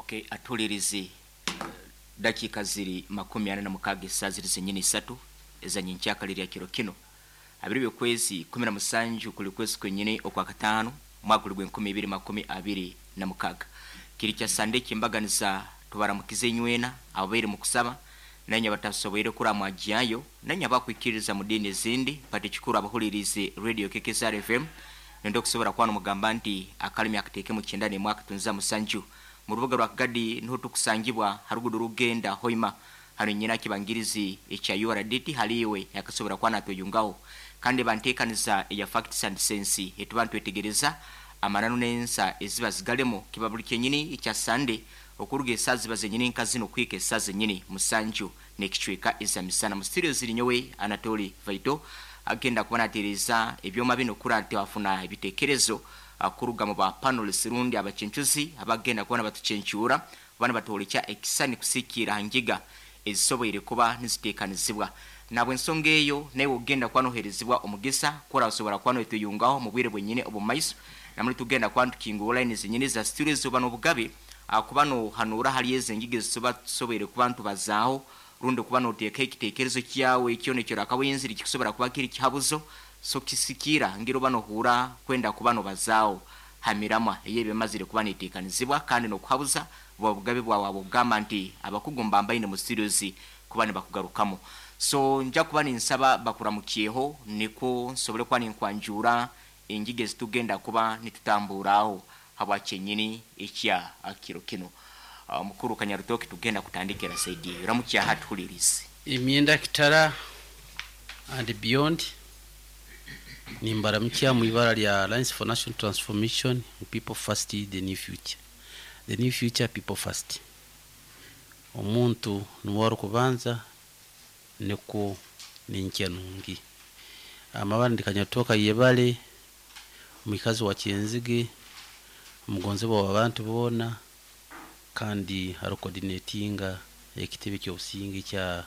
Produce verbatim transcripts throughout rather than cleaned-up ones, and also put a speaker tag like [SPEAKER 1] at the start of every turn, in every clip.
[SPEAKER 1] Okay, atulirizi dakika ziri makumi ana na mukaga esaa ziri zenyini isatu ezanyenkyakala lya kiro kino abiri byokwezi kumi na musanju kuli kwezi kwenyini okwa katano mwaka guli gw'enkumi ibiri makumi abiri na mukaga kiri kya Sande kyembaganiza tubaramukize nywena abaire mu kusaba nanye batasoboire kuramwajayo nanye abakwikiriza mu dini ezindi pati kikuru abahulirize radio K K S R F M nendo kusobora kwano mugamba nti akalimi akateke mu kyenda ne mwaka tunza musanju mu rubuga rwa Kagadi niho tukusangibwa harugudu rugenda Hoima hano nyina kibangirizi ekya U R D T haliwe yakasobora kwana toyungaho kandi bantekaniza ya facts and sense etubantu etegereza amananu nensa eziba zigalemo kibabuli kenyini ekya Sunday okuruga esazi bazenyini nkazino kwike esazi nyini musanju nekichweka ezamisana mu studio ziri nyowe Anatoli Vaito agenda kubana tereza ebyoma bino kurante wafuna ebitekerezo akuruga mu ba panelists rundi abachenchuzi abagenda kubana batuchenchura bana batolecha ekisani kusikira ngiga ezisoboire kuba nizitekanizibwa nabwe ensonga eyo naye ogenda kwanoherezibwa omugisa kora osobora kwano etuyungaho mu bwire bwenyine obumaiso namuli tugenda kwantukingura line zenyine za studio zoba n'obugabe akubano hanura hali ezengige zisoba tusoboire kubantu bazaaho rundi kubano oteeka ekitekerezo kyawe ekyo nekyo rakawenziri kikusobora kuba kiri kihabuzo so kisikira ngiro bano hura kwenda kubano bazaaho hamirama eyebe mazire kuba netekanizibwa kandi nokuhabuza bwa bugabe bwa wabugamba nti abakugumba mbaine mu studios kuba ne bakugarukamo. So nja kuba ninsaba bakuramukiyeho niko nsobole kuba ninkwanjura engige zitugenda kuba nitutamburaho habwa kyenyini ekya akiro kino. Uh, mukuru Kanyarutoki tugenda kutandikira saidi ramukiya hatulirize
[SPEAKER 2] imyenda kitara and beyond nimbaramukiya mu ibara lya Alliance for National Transformation, people first, the new future, the new future, people first. Omuntu nuwari kubanza niko ninkenungi amabara ndikanyatoka yebale mwikazi wa Kyenzige omugonzi wa abantu bona kandi ari coordinatinga ekitebe ky'obusinge kya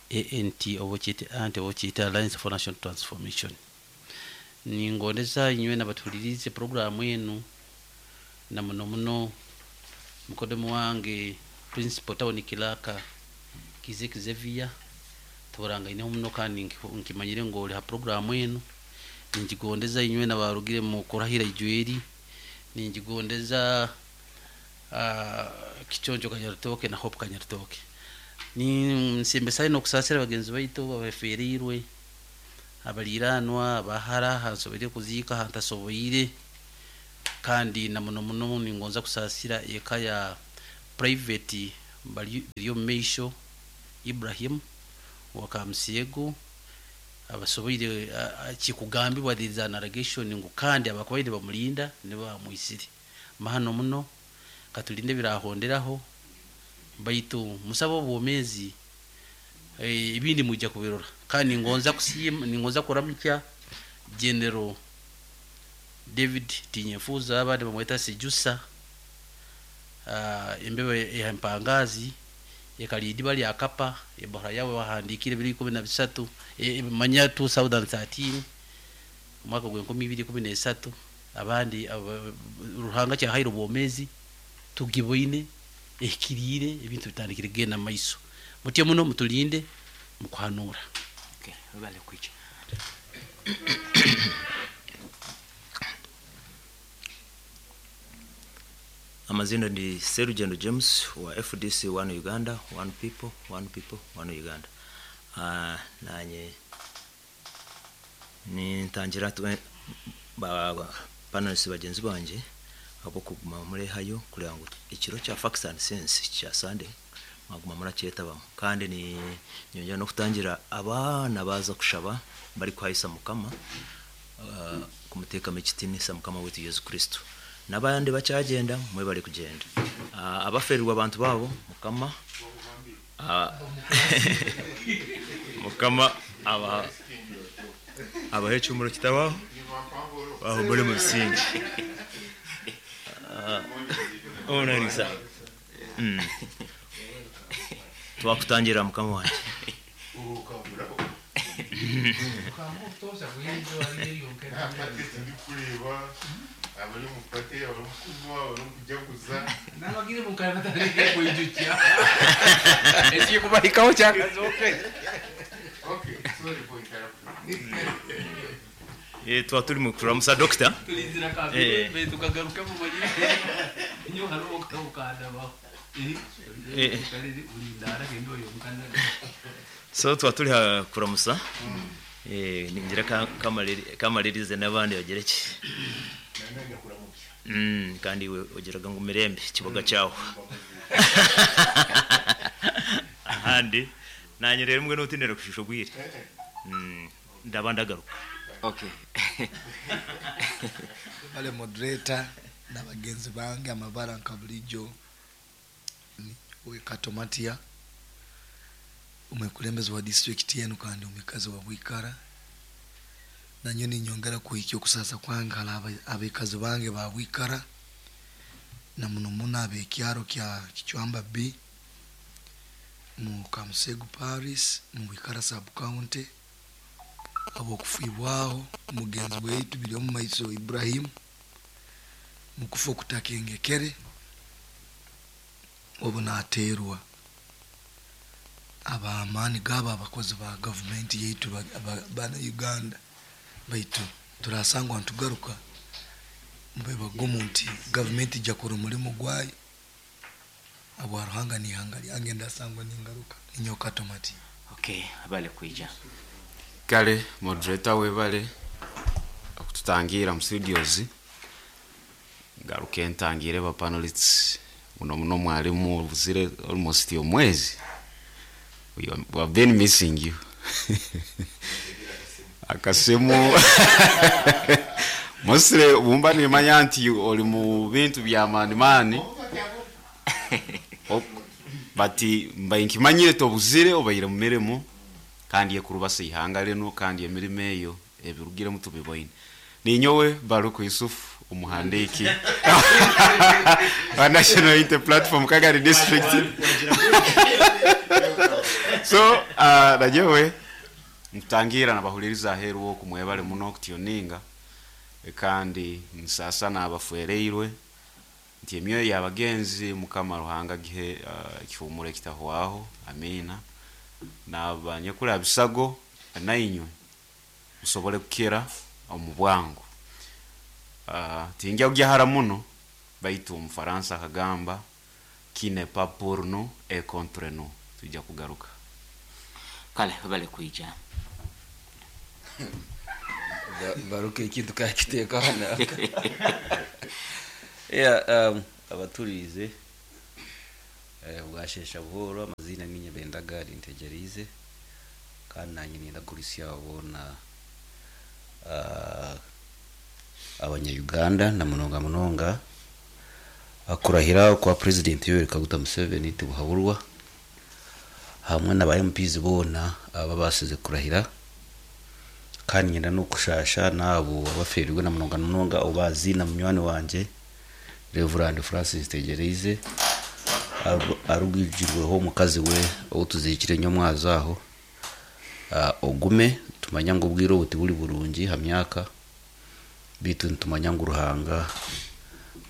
[SPEAKER 2] A N T obo kyete ante obo kyete Alliance for National Transformation. Ningondeza inywe nabatulirize programu enu na muno muno mukodemu wange Principal Tawuni Kilaka Kizeki Xavier tuburanga ine muno kandi nkimanyire ngo oli ha programu enu. Ninjigondeza inywe nabarugire mu kurahira ijweri, ninjigondeza uh, Kichonjo Kanyarutoke na Hope Kanyarutoke. Ni nsimbe no kusasira bagenzi baitu babeferirwe abaliranwa abahara hansobere kuzika hantasoboire kandi na muno muno ningonza kusasira eka ya private bali yo Meisho Ibrahim wakamsiego abasoboire kikugambibwa there an allegation ngo kandi abakobaire bamulinda ne bamuisire mahano muno katulinde birahonderaho baitu musabo obwomezi ibindi mujja kubirora. Kandi ngonza kusima ningonza kuramukya General David Tinyefuza abandi bamweta Sejusa uh, embebe ya mpangazi ekalidi bali akapa ebora yawe bahandikire biri kumi na bisatu e, manya two thousand thirteen mwaka gwe nkumi ibiri kumi na esatu abandi ab, ruhanga kya hairo bomezi tugiboine ekirire ebintu bitandikire genda maiso mutye muno mutulinde mukuhanura.
[SPEAKER 1] Okay, bale kwicha
[SPEAKER 3] Amazina ndi Serugendo James wa F D C One Uganda, One People, One People, One Uganda. Ah, nanye ni ntangira ba panelists bagenzi banje abo kuguma muri hayo kugira ngo ikiro cya Facts and Sense cya Sunday maguma muracyeta bamwe kandi ni nyongera no kutangira abana baza kushaba bari kwahisa mukama uh, kumuteka mekitini mukama wetu Yesu Kristo nabandi bacyagenda mwe bari kugenda uh, abaferirwa abantu babo mukama uh, mukama aba abahecu umuro kitabaho aho muri mu bisingi uh, onanisa mm. Twakutangira mukama wanje
[SPEAKER 4] Abali omu party, abali omu kunywa, abali omu kujaguza.
[SPEAKER 5] Nabagire mukara batandike kwijukya ekikubahikaho kyakazoke.
[SPEAKER 4] Okay, sorry for interrupting.
[SPEAKER 3] Eh, tuba turi mu kuramusa doctor.
[SPEAKER 5] Tulizira
[SPEAKER 3] Eh.
[SPEAKER 5] kabiri tukagaruka mu manyire nyo hariho okukanda
[SPEAKER 3] Eh. So tuba turi ha kuramusa, eh ningira ka- kamaliri- kamalirize n'abandi bagere ki.
[SPEAKER 4] Nananya kuramukya.
[SPEAKER 3] Mm, kandi we ogeraga ngu mirembe kiboga cyaho ahandi nanye rero mbwe notindera kushusha bwire. Mm, ndaba ndagaruka.
[SPEAKER 1] Okay.
[SPEAKER 6] Bale moderator na bagenzi bange, amabara nka bulijjo ni Wekatomatia, omukulembeze wa district yenu kandi omwikazi wa Bwikara. Nanyo ninyongera kuhikya okusasa kwange hala aba- abekazi bange ba Bwikara na muno muno abekyaro kya Kichwamba B mu Kamusegu Paris mu Bwikara sub county, abokufibwaho mugenzi waitu biri omu maiso Ibrahim mukufa okutakengekere obu nateerwa abamaani gabo abakozi ba gavumenti yaitu ba- ba- bana Uganda. Baitu turasangwa ntugaruka mube bagumu nti gavumenti ijja kora omulimu gwayo abwa Ruhanga n'ihanga lyange ndasangwa ningaruka ninyoka tomati.
[SPEAKER 1] Okay, abale kwija.
[SPEAKER 7] Kale moderator, webale okututangira mu studios. Ngaruke ntangire ba panelists muno muno mwalimu obuzire almost omwezi. We are- we have been missing you. Akasimu mosire bumba nimanya nti oli mu bintu bya maani maani. Ok- but mbaye nkimanyire tobuzire, obaire mu mirimo kandi ekurubasa ihanga lino kandi emirimo eyo ebirugiremu tubiboine. Ninyowe Baruku Yusuf, umuhandiki wa National Unity Platform Kagari District. So uh, najewe nkutangira nabahuliriza aheru wo kumwebale muno kutuninga, kandi nsasa nabafuereirwe nti emyoyo y'abagenzi Mukama Ruhanga gihe uh, ekihumuro ekitahwaho, amina. Nabanyekula bisago nainywe musobole kukira omu bwangu. uh, tingya kujahara muno, baitu omufaransa akagamba qui n'est pas pour nous est contre nous. Tujja kugaruka.
[SPEAKER 1] Kale bale kwija.
[SPEAKER 2] Baruka ekintu kakiteeka hano. Yeah, um, abaturize eh, bwashesha buhoro. Amazina ni Nyabendaga Ntegerize, kandi nanjye nindagurisya bona uh, abanya-Uganda na munonga munonga akurahira kwa President Yoweri Kaguta Museveni tibuhaburwa hamwe na ba M Ps bona aba basize kurahira. Kandi ngenda no kushasha nabo abaferirwe na munonga munonga obazi na munywani wanje Reverend Francis Tegereize arugijirweho omukazi we outuzikire nyomwazo aho. uh, ogume tumanya ngu obwire obu tiburi burungi ha myaka, bitu nitumanya ngu Ruhanga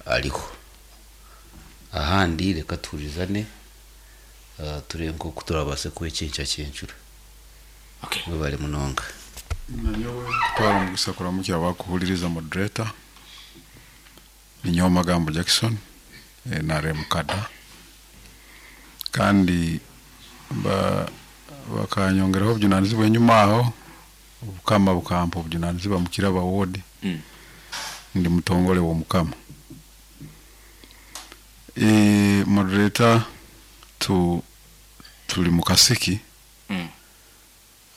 [SPEAKER 2] ariho. Ahandi reka tuhurizane, uh, turebe nk'oku turabase kwekinca kyencura.
[SPEAKER 1] Okay.
[SPEAKER 2] Mwebale munonga.
[SPEAKER 8] Nanyowe kutwara omugisa kuramukira abakuhuliriza moderator. Ninyowe Magambo Jackson, eh, N R M kada, kandi ba bakanyongeraho obujunanizibwa enyuma aho, obukama bukampa obujunanizibwa mukiraba ward.
[SPEAKER 1] Mm.
[SPEAKER 8] Ndi mutongole w'omukama. e, moderator, tu tuli mu kasiki.
[SPEAKER 1] Mm.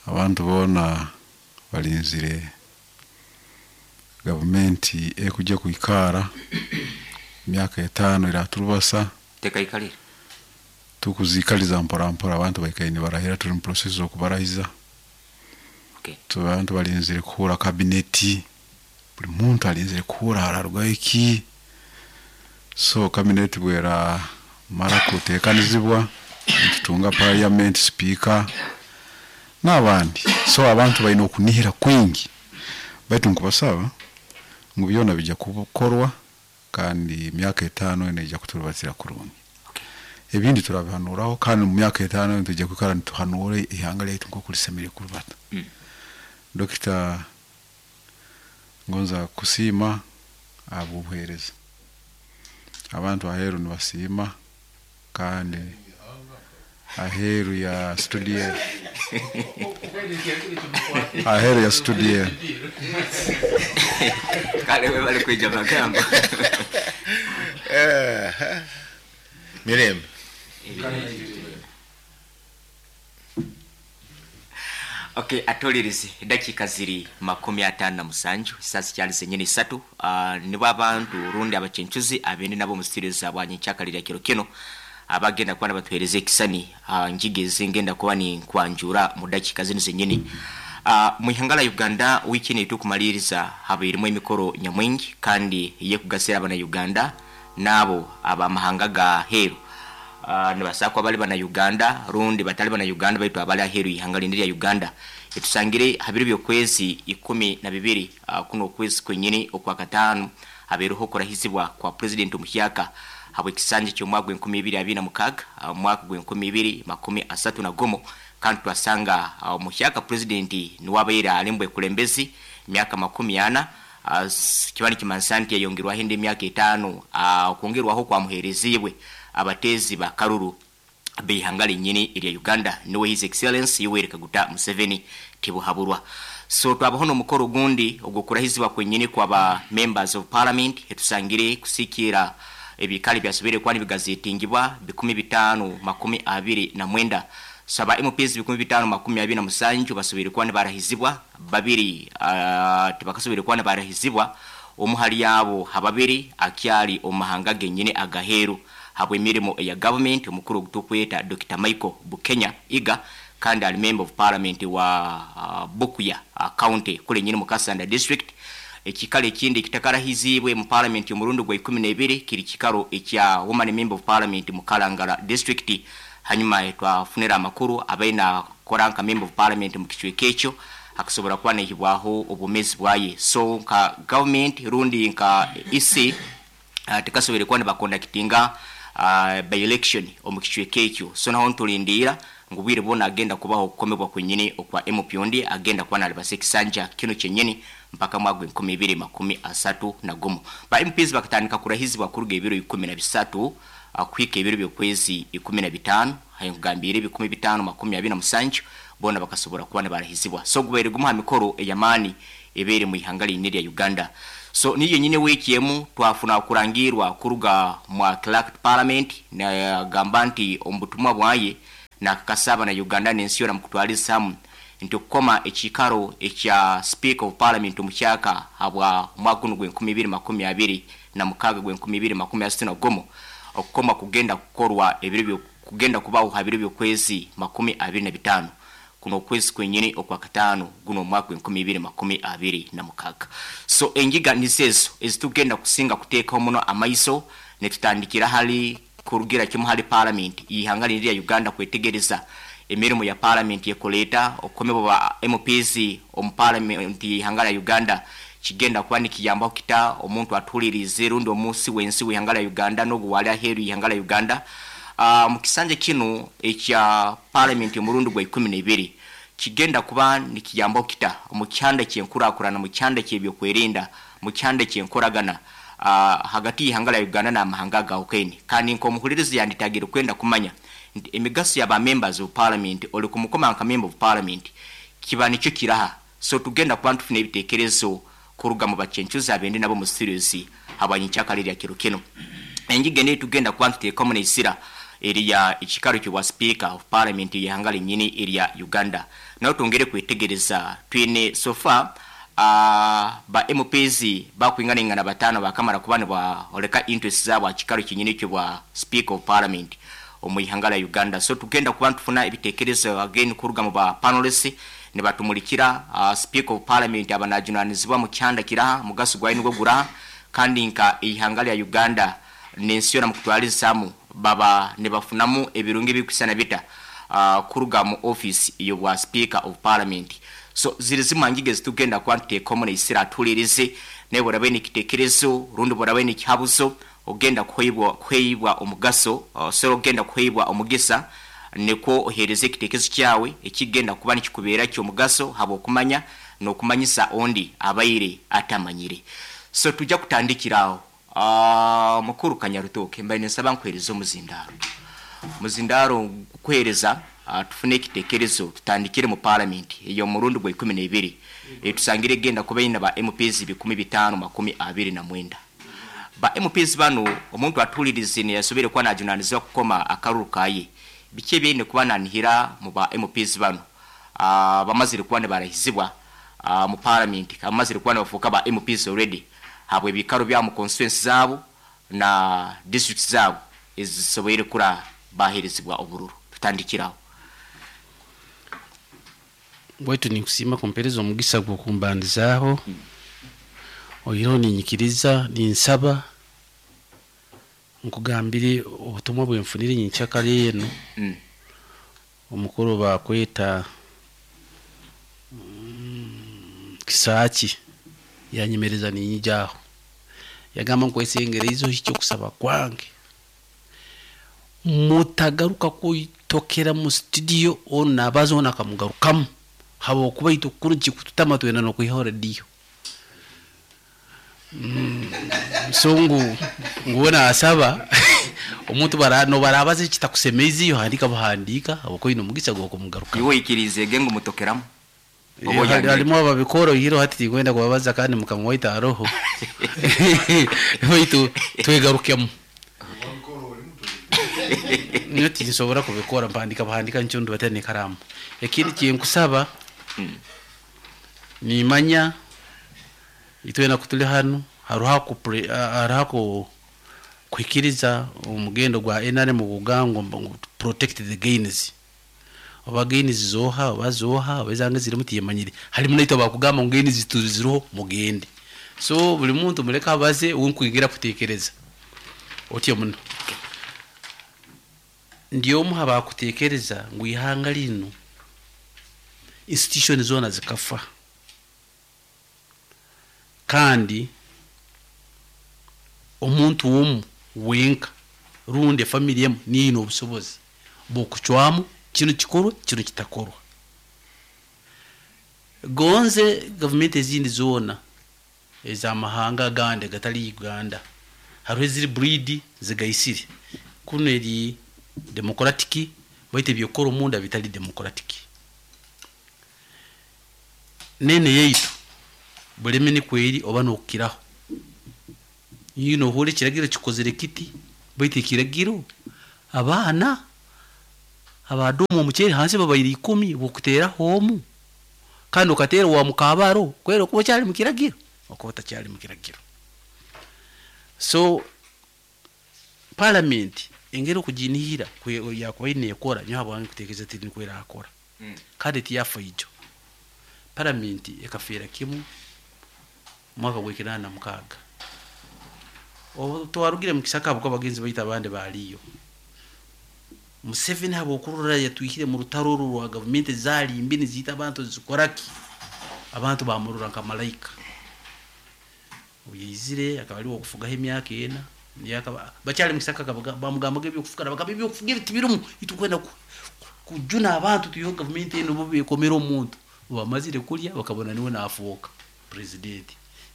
[SPEAKER 8] Abantu boona balinzire gavumenti ekujja kwikara emyaka etaano eraturubasa.
[SPEAKER 1] Tekaikalire.
[SPEAKER 8] Tukuzikaliza mpora mpora, abantu baikaire nibarahira, turi mu process z'okubarahiza.
[SPEAKER 1] Okay.
[SPEAKER 8] Tu- abantu balinzire kuhura kabineti, buli muntu alinzire kuhura hararugaho iki. So kabineti bwera mara kutekanizibwa, nitutunga parliament speaker n'abandi. So abantu balina okunihira kwingi, baitu nkubasaba Ngu byona bijja kukorwa kandi emyaka etaano neija kuturubatira kurungi. Ebindi turabihanuraho, kandi mu myaka etaano nitujja kwikara nituhanura ihanga lyaitu nk'oku lisemeriire kurubata.
[SPEAKER 1] Mm.
[SPEAKER 8] Dokita, ngonza kusiima ahabw'obuheereza. Abantu aheeru nibasiima, kandi aheeru ya studio, aheeru ya studio.
[SPEAKER 1] Kale we bali kwija magambo.
[SPEAKER 4] Eh, mirembe.
[SPEAKER 1] Okay, atolirizi dakika ziri makumi atano na musanju sasa kyali zenyini isatu. Uh, nibo abantu rundi abachenchuzi abende nabo mu studio za bwanyi kyakalira kiro kino abagenda kuba batuhereze ekisani uh, njigeze ngenda kuba ni kwanjura mu dakika zino zenyini. Uh, mu ihanga la Uganda wiki ni tukumaliriza habairimo emikoro nyamwingi kandi ye kugasira abana Uganda nabo abamahanga ga heru. Uh, nibasakwa bali bana Uganda rundi batali bana Uganda baitu abali aheru ihanga lindi lya Uganda. Etusangire habiri byokwezi ikumi na bibiri uh, kuno kwezi kwenyini okwa katano haberuho kurahizibwa kwa president Muhyaka habwe kisanje cyo mwaka gw'enkumi ibiri abiri na mukaga, uh, mwaka gw'enkumi ibiri makumi asatu na gomo. Kandi twasanga uh, Muhyaka president niwabaira alimbwe kulembezi myaka makumi ana. uh, kibani kimansanti yayongerwaho indi myaka etano, uh, kongerwaho kwa muherezibwe abatezi ba karuru bihanga linyini ilya Uganda niwe His Excellency Yoweri Kaguta Museveni tibuhaburwa. So twabaho no mukoro gundi ogukurahizibwa kwenyini kwa ba members of parliament etusangire kusikira ebikali byasubire kwani bigazetingibwa bikumi bitano makumi abiri na mwenda. Saba M Ps bikumi bitano makumi abiri na musanju basubire kwani barahizibwa babiri, uh, tibakasubire kwani barahizibwa omuhali yabo hababiri akyali omahanga genyini agaheru habwe mirimo ya government omukuru gutukweta Doctor Michael Bukenya Iga kandi ali member of parliament wa uh, Bukuya uh, county kule nyini mu Kasanda district. Ekikalo ekindi kitakarahizibwe mu parliament omurundi gwa ikumi na ibiri kiri kikalo ekya woman member of parliament mu Kalangala district. Hanyuma twafunira amakuru abaina koranka member of parliament mu kichweka ekyo akasobora kuba nehibwaho obumezi bwaye. So nka government rundi nka E C uh, tikasobere kuba nibakondakitinga uh, by election omu kichweka ekyo. So naho ntulindira ngubwire bona agenda kubaho okukomebwa kwenyini okwa M P ondi agenda kuba nalibasa ekisanja kino kyenyini mpaka mwaka enkumi ibiri makumi asatu na gumu. Ba M Ps bakatandika kurahizibwa kuruga ebiro ikumi na bisatu kuhika ebiro by'okwezi ikumi na bitano, hayongambire ebikumi bitano makumi abiri na musanju bona bakasobora kuba nibarahizibwa. So gubaire gumuha mikoro eyamani ebere mu ihanga linene lya Uganda. So niyo nyine wiki emu twafuna kurangirwa kuruga mwa Clerk Parliament na gamba nti ombutumwa bwaye na kasaba na Uganda n'ensi yona mukutwaliza hamu nti okukoma ekikaro ekya Speaker of Parliament omukyaka habwa omwaka guno gw'enkumi ibiri makumi abiri na mukaga gw'enkumi ibiri makumi asatu na gumu okukoma kugenda kukorwa ebiro byo kugenda kubaho habiro by'okwezi makumi abiri na bitano kuno kwezi kwenyini okwa katano guno omwaka gw'enkumi ibiri makumi abiri na mukaga. So engiga nizezo ezitugenda kusinga kuteekaho muno amaiso netutandikira hali kurugira kimu hali parliament ihanga lya Uganda kwetegereza emirimu ya parliament yekoleta okomebwa ba M Ps omu parliament ihanga lya Uganda kigenda kuba nikiyambaho kita omuntu atulirize rundi omunsi wensi w'ihanga lya Uganda n'oguwali aheeru y'ihanga lya Uganda. Uh, mu kisanja kino ekya parliament omurundi gwa ikumi na ibiri kigenda kuba nikiyambaho kita mu kyanda ky'enkurakurana, mu kyanda ky'ebyokwerinda, mu kyanda ky'enkoragana uh, hagati y'ihanga lya Uganda n'amahanga agahukene. Kandi nk'omuhulirizi yanditagire kwenda kumanya nti emigaso y'aba members of parliament oli kumukoma nka member of parliament kiba nikyo kiraha. So tugenda kuba ntufuna ebiteekerezo kuruga mu bachenchuzi abende nabo mu series habwanyikyakali lya kiro kino. Enjige ne tugenda kuba ntuteekamu n'esira eriya ekikaro ky'obwa Speaker of Parliament y'ihanga linnyini erya Uganda. Nayo twongere kwetegereza twine so far uh, ba M Ps bakwinganingana batano bakamara kuba nibaoleka interest zaabwe ekikaro kinnyini ky'obwa Speaker of Parliament omu ihanga lya Uganda. So tugenda kuba ntufuna ebiteekerezo again kuruga mu ba panelists nibatumulikira uh, Speaker of Parliament abanajunanizibwa mu kyanda kiraha mugaso gwayi nigwo guraha kandi nka ihanga lya Uganda n'ensi yona mukutwalizamu baba nibafunamu ebirungi ebikusana bita uh, kuruga mu office y'obwa Speaker of Parliament. So ziri zimwe ngige zitugenda kuba ntuteekamu n'esira atulirize Naye bw'oraba oine ekiteekerezo rundi bw'oraba oine ekihabuzo ogenda kuheibwa kuheibwa omugaso, osobola ogenda kuheibwa omugisa nikwo ohereza ekiteekerezo kyawe ekigenda kuba nikikubeera ky'omugaso habw'okumanya n'okumanyisa ondi abaire atamanyire. So tujja kutandikira aho. Uh, mukuru Kanyarutoke, mbaire nsaba nkuhereza omuzindaro. Muzindaro kuhereza uh, tufune ekiteekerezo tutandikire mu parliament eyo murundi gwa ikumi n'ebiri. E, tusangire genda kuba ina ba M Ps bikumi bitano makumi abiri na mwenda. Ba M Ps bano omuntu atulirize ne yasobere kwa najunanizwa kukoma akaruru kaye. Bike byene kuba nanihira mu ba M Ps bano. Uh, bamazire kuba ne barahizibwa uh, mu parliament, bamazire kuba bafuka ba M Ps already. Habwe bikaro bya mu constituency zabo na district zabo ezisobere kura baherezibwa obururu. Tutandikiraho.
[SPEAKER 2] Bwetu nikusima kumpereza omugisa gw'okumbandizaaho. Mm. Oyiro ninyikiriza ninsaba nkugambire obutumwa bwenfunire nyikyakale eno. Mm. Omukuru bakweta mm, Kisaki yanyemereza ninyijaho. Yagamba nkwesengereizo hikyo kusaba kwange. Mutagaruka kuitokera mu studio ona abazo ona kamugarukamu. Habo kuba itukuru kikututama twena no kuiha radio. Mm, songu nguona asaba omuntu bara no barabaze kitakusemezi yo handika buhandika abako ino mugisa gwo kumugaruka.
[SPEAKER 1] Iwe ikirize gengo mutokeramu.
[SPEAKER 2] Alimo ababikoro hiro hati tigwenda kubabaza kandi mukamwaita aroho. Baitu twegarukemu. Niyo tinsobora kubikora mpandika buhandika nchundu batene karamu. Ekindi kinkusaba mm. Nimanya itwena kutuli hano haruha ku haruha ku kwikiriza omugendo gwa N R M kugango protect the gains. Oba gains zoha oba zoha obezange ziri mutiyemanyire. Halimu naito bakugamba ngo gains tuziroho mugende. So buli muntu muleka abaze unkwigira kutekereza. Otyo muno. Ndiyo muha bakutekereza ngo ihanga lino institution zona zikafa. Kandi omuntu womu wenka rundi family yemu niino obusobozi bokuchwamu kino kikorwa kino kitakorwa. Gonze government ezindi zona ez'amahanga gande gatali Uganda hariho eziri breed zigaisire kuno eri democratic baite byokora omunda bitali democratic. Nene yeitu buleme ni kweri oba nokiraho yino hore kiragiro kikozere kiti baite kiragiro abana abadumu omuceri hansi babayiri ikumi bokutera homu kandi okatera wa mukabaro kwero kuba cyari mu kiragiro okuba tacyari mu kiragiro. So parliament engero kujinihira yakuba ine ekora nyo habwange kutekeza tiri kwera akora mm. Kandi tiyafa ijo parliament ekafera kimu mwaka gwekinana mukaga obo twarugire mu kisaka bwo abagenzi bayita abandi baliyo. Museveni habo kurura yatwihire mu rutaro rwa government zali imbini zita abantu zikoraki abantu bamurura nka malaika. Uyizire akaba ari okufugaho emyaka ena yakaba bacyari mu kisaka bamugamba byo kufukara bakaba byo kufugira tibirumu itukwenda kujuna abantu tuyo government eno bo bekomera omuntu bamazire kulya bakabona niwe nafuoka president.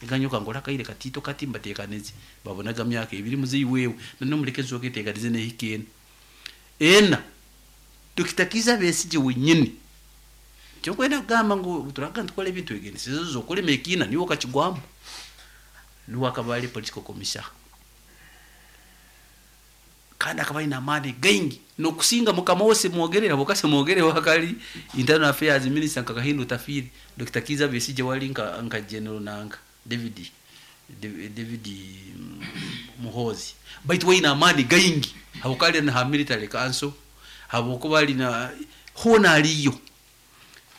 [SPEAKER 2] Iganyuka ngora kaire katito katimba tekaneze babonaga myaka ibiri muzi wewe none muleke zoke tekaneze ne hikena ena Dokita Besigye wenyine cyo kwenda kugamba ngo turaga tukole ebintu egene sizo zokole mekina niwo kachigwamu niwo akabali political commissioner kandi akabali na amani gengi no kusinga mukama wose mwogerera bokase mwogere wakali internal affairs minister Kakahindu Tafiri Dokita Kiza Besigye wali nka nka general nanga David David Muhozi baitu we na amani gaingi habukali na military council habukubali na hona aliyo.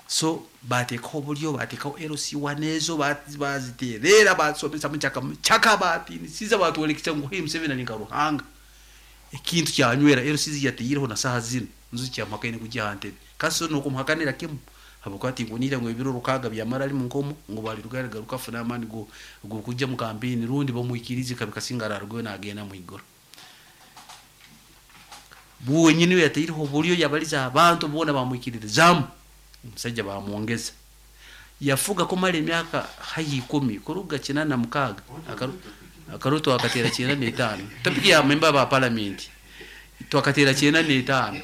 [SPEAKER 2] So batekaho bulyo batekaho L C one ezo baziterera basomesa muchaka chaka batinisiza batwolekisa ngo hey Museveni ali nka ekintu kyanywera L C yatiyireho na saha zino nzu kya makaine kujya hante kaso no kumuhakanira kimu Habwokuba tinkunira ngu ebiro rukaga byamara ali munkomo ngu baliruga garuka afuna amaani go gokujja mu kampeni, rundi bamwikirize kabikasinga ararugayo nagenda mu igoro. Buwenyini we yataireho obulyo yabaliza abantu boona bamwikiririzamu, omusajja bamwongeza yafuga kumara emyaka haihi ikumi, kuruga kinana mukaaga akaru twakatera kyenda n'etaano. Topiki ya member ba parliament twakatera kyenda n'etaano,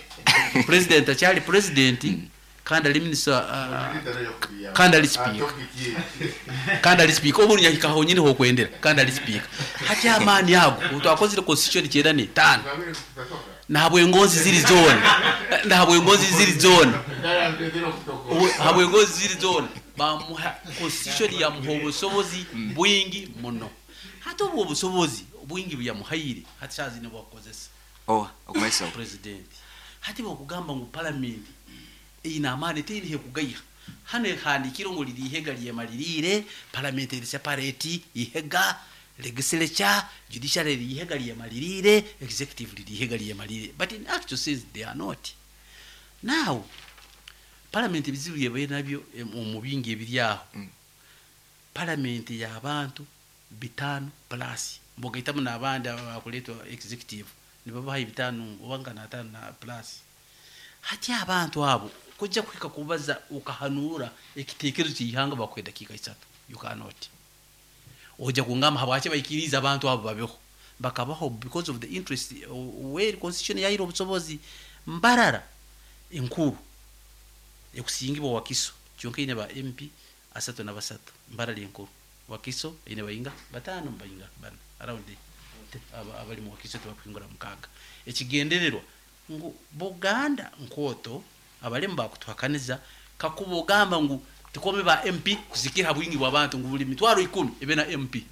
[SPEAKER 2] president akyali president kandi ali minister, uh, kandi ali speaker, kandi ali speaker obu nyahika honyine hokwendera, kandi ali speaker. Hati amaani ago twakozire constitution kyenda n'etaano, ntabwo engonzi ziri zona, ntabwo engonzi ziri zona, ntabwo engonzi ziri zona bamuha constitution yamuha obusobozi bwingi muno. Hati obwo obusobozi bwingi byamuhaire hati shazi ne bwakozesa
[SPEAKER 1] oh okumaiso
[SPEAKER 2] president. Hati bokugamba ngu parliament ina amaani teri kugaya hano ehandikiro ngo lirihega lyemalirire, parliament eri separate ihega legislature, judiciary lirihega lyemalirire, executive lirihega lyemalirire, but in actual sense they are not. Now parliament ebizibu byebaire nabyo omu bingi ebiri aho,
[SPEAKER 1] Mm.
[SPEAKER 2] parliament y'abantu bitaano plus mbogaitamu n'abandi abakuleetwa executive nibabaha ebitaano oba nga n'ataano na plus. Hati abantu abo kujja kuhika kubaza ukahanura ekiteekerezo ky'ihanga bakuha edakiika isatu, you cannot. Ojja kungamba habwaki baikiriza abantu abo babeho, bakabaho because of the interest where constitution yaire obusobozi. Mbarara enkuru ekusingibwa Wakiso kyonka ine ba M P asatu na basatu. Mbarara enkuru Wakiso ine bayinga batano bayinga bana around abali mu Wakiso tebakuhingura mukaaga. Ekigendererwa ngu Buganda nkoto abalemu bakutuhakaniza kakuba ogamba ngu tikome ba M P kusikira bwingi bw'abantu ngu buli mitwaro ikumi ebe na M P.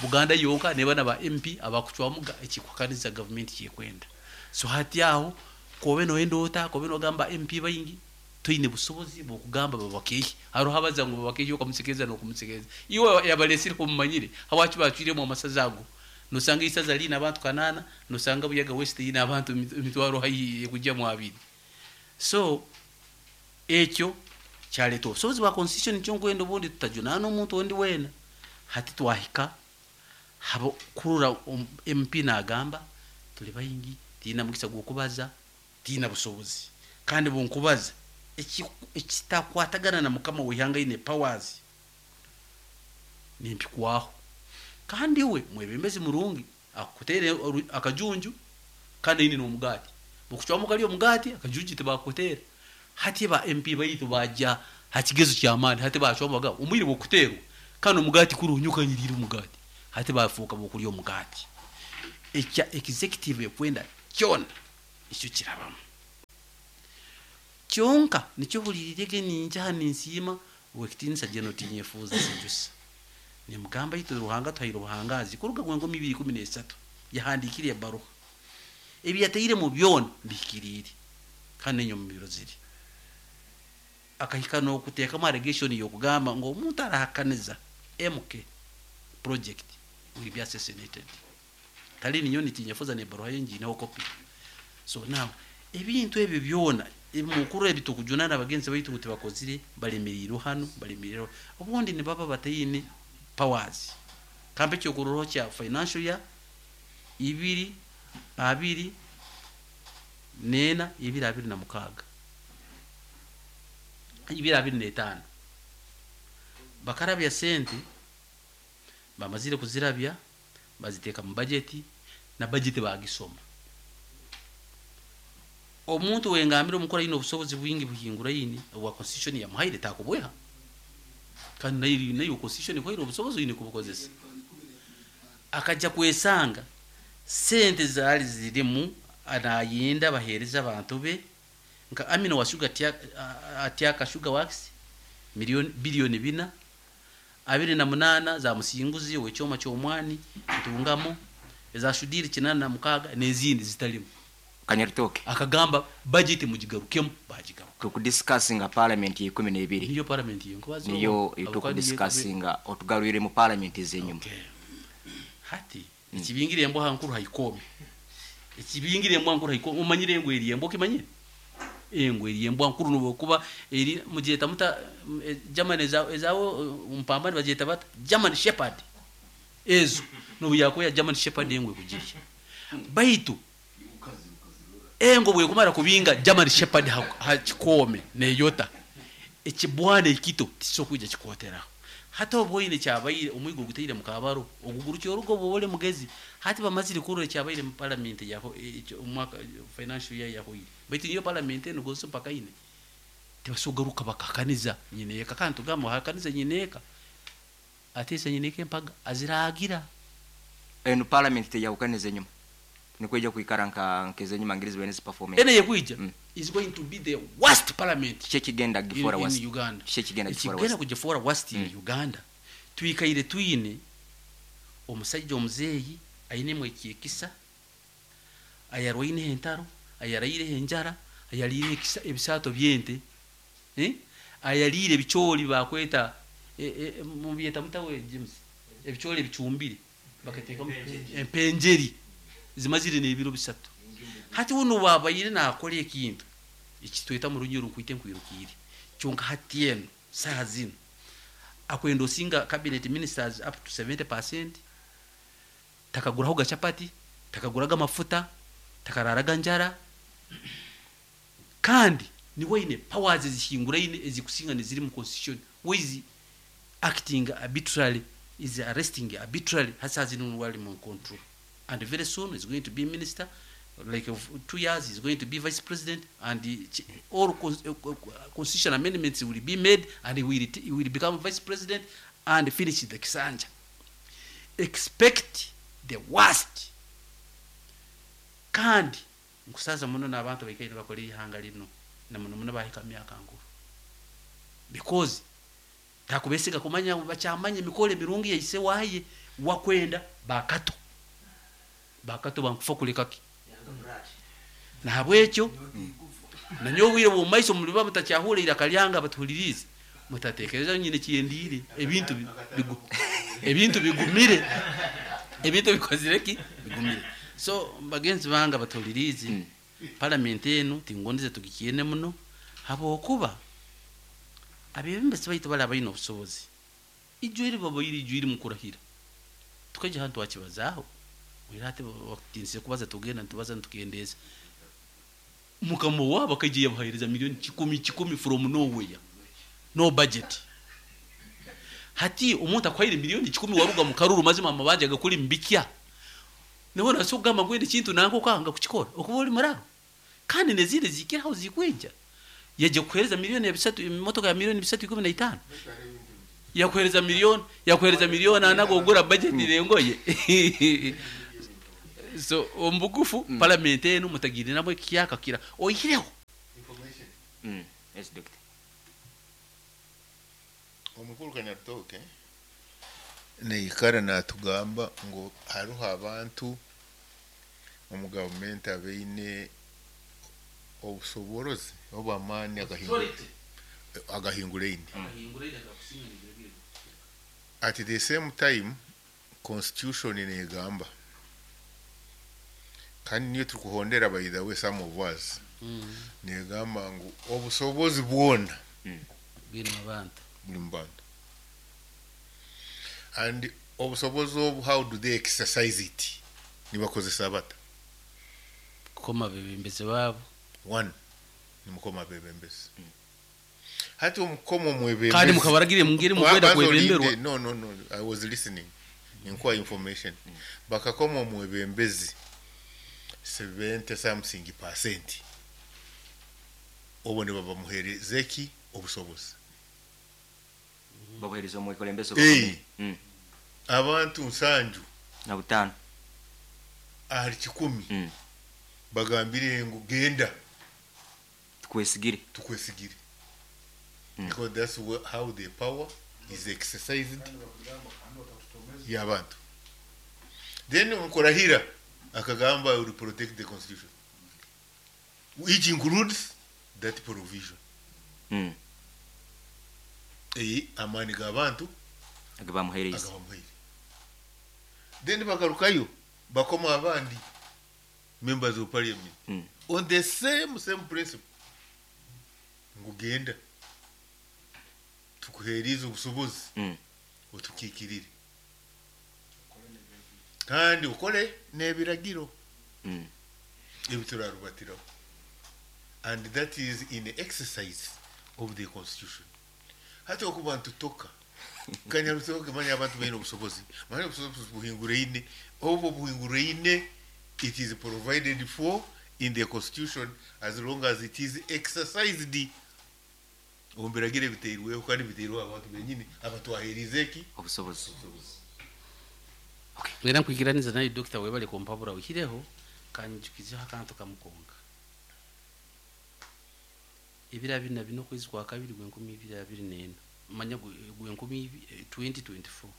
[SPEAKER 2] Buganda yonka neba na ba M P abakucwamuga ekikuhakaniza government kyekwenda. So hati aho kobe noyenda ota kobe nogamba M P bayingi toine busobozi bwokugamba babakehi haro habaza ngu babakehi okamusekeza n'okumusekeza iwe yabalesire kumumanyire hawaki bacwiremu amasaza ago. Nosanga isaza lina abantu kanana, nosanga Buyaga West ina abantu emitwaro hayi kujja mu abiri. So ekyo kyaleeta obusobozi bwa constitution kyonkwenda obundi tutajunana omuntu ondi weena. Hati twahika habo kurura M P nagamba tuli bayingi tiina mukisa gw'okubaza tiina busobozi kandi bunkubaza ekitakwatagana na mukama w'ihanga ine powers nimpikwaho. Kandi we mwebembezi murungi akutere akajunju kandi ine n'omugati bukucwamu kali omugati akajunju tebakutera. Hati ba M P baitu bajja hakigezo ky'amaani hati bacwamu omwire bwokuterwa kandi omugati kurunyuka nyirira omugati hati bafuuka bokulya omugati. Ekya executive ekwenda kyona ekyo kirabamu kyonka nikyo hulirirege ninja ninsiima wekitinisa jeno tinyefuza sijusa nimugamba itu Ruhanga tuhaire obuhangazi kuruga gwengo mibiri kumi n'esatu yahandikire ebaruha ebi yateire mu byona bikirire kandi enyo mu biro ziri akahika n'okuteekamu allegation y'okugamba ngu omuntu arahakaniza M K project will be assassinated. Tali ninyo nitinyefuza n'ebaruha yengi kopi. So now ebintu ebyo byona ebimukuru ebitukujunana abagenzi baitu kuti bakozire balemeriro hano balemeriro obundi ne baba batayine powers kambe kyokuroro kya financial ya ibiri abiri nena ibiri abiri na mukaga ibiri abiri n'etaano bakarabya sente bamazire kuzirabya baziteka mu budget na budget bagisoma. Omuntu wengambira omukora ino obusobozi bwingi buhingura yini obwa constitution ya muhaire takubweha kandi nayo nayo constitution kwaire obusobozi yini kubukozesa akajja kwesanga sente zali zirimu anayinda bahereza abantu be nka Amina wa sugar atiaka sugar works milioni bilioni bina abiri na munana za musinguzi wekyoma kyomwani ntungamo eza shudiri kinana mukaga nezindi zitalimu
[SPEAKER 1] Kanyaritoke
[SPEAKER 2] akagamba budget mujigarukemu bajigaruka
[SPEAKER 1] tukudiscussinga parliament ya ikumi n'ebiri
[SPEAKER 2] niyo parliament yenkubazo
[SPEAKER 1] niyo tukudiscussinga otugarwire mu parliament zenyuma.
[SPEAKER 2] Okay. Hati mm. Ekibingire embo hankuru haikome ekibingire embo hankuru haikome umanyire engwe eri embo kimanyire Engo eri embwa nkuru nobwokuba eri mugyeta muta eh, German eza ezawo mpambani bagyeta bata German Shepherd ezo nobu yakuya German Shepherd engwe kugirya baitu engo bwekumara kubinga German Shepherd ha, ha kikome neyota ekibwana ekito tisokuja kikoteraho hata obwoine kyabaire omwigo gutaire mukabaro oguguru kyorugo bwole mugezi hati bamazire kurora kyabaire mu parliament yaho omwaka financial year yahoire baitu niyo parliament eno gonso mpaka ine tibasogaruka bakakaniza nyineka kandi tugamba hakaniza nyineka atesa nyineka empaga aziragira
[SPEAKER 1] Eno parliament teyawukaniza enyuma nikweja kwikara nka nkeze enyuma ngirizi bene performance
[SPEAKER 2] ene yekwija
[SPEAKER 1] Mm.
[SPEAKER 2] is going to be the worst parliament
[SPEAKER 1] kiki kigenda
[SPEAKER 2] in,
[SPEAKER 1] gifora
[SPEAKER 2] in
[SPEAKER 1] worst
[SPEAKER 2] Uganda.
[SPEAKER 1] Kiki kigenda gifora
[SPEAKER 2] Ekigenda
[SPEAKER 1] worst
[SPEAKER 2] kugifora worst in
[SPEAKER 1] Mm.
[SPEAKER 2] Uganda twikaire twine omusajja omuzeeyi ayinemu ekyekisa ayarwaine entaro ayaraire enjara ayaliire ekisa ebisaato byente eh? Ayaliire ebicooli bakweta eh, eh, mubyeta mutawe James ebicooli ebicumbire bakateekamu empenjeri zimazire n'ebiro bisatu hati wuno wabaire nakola ekintu ekitweta mu runyoro nkwite nkwirukire kyonka hati eno saha zino akwenda osinga cabinet ministers up to seventy percent takaguraho gachapati, takaguraga amafuta, takararaga njara kandi niwe ine powers ezihinguraine ezikusinga neziri mu constitution who is acting arbitrarily, is arresting arbitrarily. Hasa zino wali mu control and very soon is going to be minister, like of two years he's going to be vice president and the, ch- all cons- uh, co- constitution amendments will be made and he will, he will become vice president and finish the kisanja. Expect the worst. Kandi nkusaza muno n'abantu baikaire bakora ihanga lino na muno muno bahika myaka nkuru because takubesiga kumanya bakyamanya emikoro emirungi yaise waye wakwenda bakato bakato bankufa kulekaki nahabwekyo nanyowe obwire bwomumaiso muliba mutakyahura iraka lyanga abatuhulirize mutatekereza nyine kyendiire ebintu bi- bigu, ebintu bigumire, ebintu bikozire ki bigumire. So bagenzi bange abatuhulirize,
[SPEAKER 1] Mm.
[SPEAKER 2] parliament eno tingondeze tugikyene muno habwokuba abebembezi baitu bali abaine obusobozi ijwire babaire ijwire mukurahira tukaija hantu twakibazaaho oira ati bakutinzire kubaza tugenda nitubaza nitukendeeza mukama wabo akaija yabahereza milioni kikumi kikumi from nowhere, no budget. Hati omuntu akwaire milioni kikumi waruga mu karuru mazima amabanja gakuli mbikya niho naso kugamba ngwende kintu nanko kanga kukikora okuba oli muraro kandi nezindi zikiraho zikwija yaje kuhereza milioni ya bisatu emotoka ya milioni bisatu ikumi na itano yakuhereza milioni yakuhereza milioni anago ogura budget rengoye. So omubugufu mm. parliament eno mutagire nabo ekiyaka kira oyireho.
[SPEAKER 1] Mm. Yes, doctor.
[SPEAKER 4] Omukuru Kanyarutooke neikara natugamba ngu hariho abantu omu gavumenti abaine obusoborozi obw'amaani agahinguraine. At the same time, constitution negamba kandi niyo turikuhondera, by the way, some of us negamba ngu obusobozi bwona
[SPEAKER 2] bwine abantu
[SPEAKER 4] buli mu bantu and obusobozi obu, how do they exercise it? Nibakozesa bata?
[SPEAKER 2] Kukoma bebembezi baabo.
[SPEAKER 4] One, nimukoma abebembezi. Hati omukoma omwebembezi
[SPEAKER 2] kandi mukabaragire mungeri mukwenda
[SPEAKER 4] Banza
[SPEAKER 2] kwebemberwa.
[SPEAKER 4] olinde. No, no, no, I was listening, ninkuwa information. Bakakoma omwebembezi seventy something percent obo ne babamuhereza ki obusobozi.
[SPEAKER 1] Babuhereza omwekulembeze.
[SPEAKER 4] Eh.
[SPEAKER 1] Mm.
[SPEAKER 4] Abantu nsanju
[SPEAKER 1] na butaano
[SPEAKER 4] ahali kikumi
[SPEAKER 1] Mm.
[SPEAKER 4] bagambire ngu genda
[SPEAKER 1] tukwesigire.
[SPEAKER 4] Tukwesigire.
[SPEAKER 1] Mm.
[SPEAKER 4] Because that's wha- how the power is exercised y'abantu. Then mukurahira akagamba, "I will protect the constitution," which includes that provision.
[SPEAKER 1] Mm.
[SPEAKER 4] Eyi amaani g'abantu
[SPEAKER 1] age bamuhereza
[SPEAKER 4] agabamuhaire. Then bagarukayo bakoma abandi members of parliament
[SPEAKER 1] Mm.
[SPEAKER 4] on the same same principle. Ngu genda tukuheerize obusobozi
[SPEAKER 1] Mm.
[SPEAKER 4] otukiikirire kandi ukole n'ebiragiro
[SPEAKER 1] Mm.
[SPEAKER 4] ebiturarubatiraho, and that is in the exercise of the constitution. Hati okuba ntutoka kanyarutoka, manya abantu baine obusobozi, manya obusobozi buhinguraine, obwo buhinguraine, it is provided for in the constitution as long as it is exercised omu biragiro ebiteirweho, kandi biteirweho abantu benyini abatwaherize eki?
[SPEAKER 1] Obusobozi.
[SPEAKER 2] Era nkwikiraniza naye dokita, webale kumpabura oihireho kanjukizeho akantu kamukonga ebiro abiri na bina okwezi kwa kabiri gwenkumi ibiri abiri nena, manya gwe- gwenkumi ibi- eh, twenty twenty-four,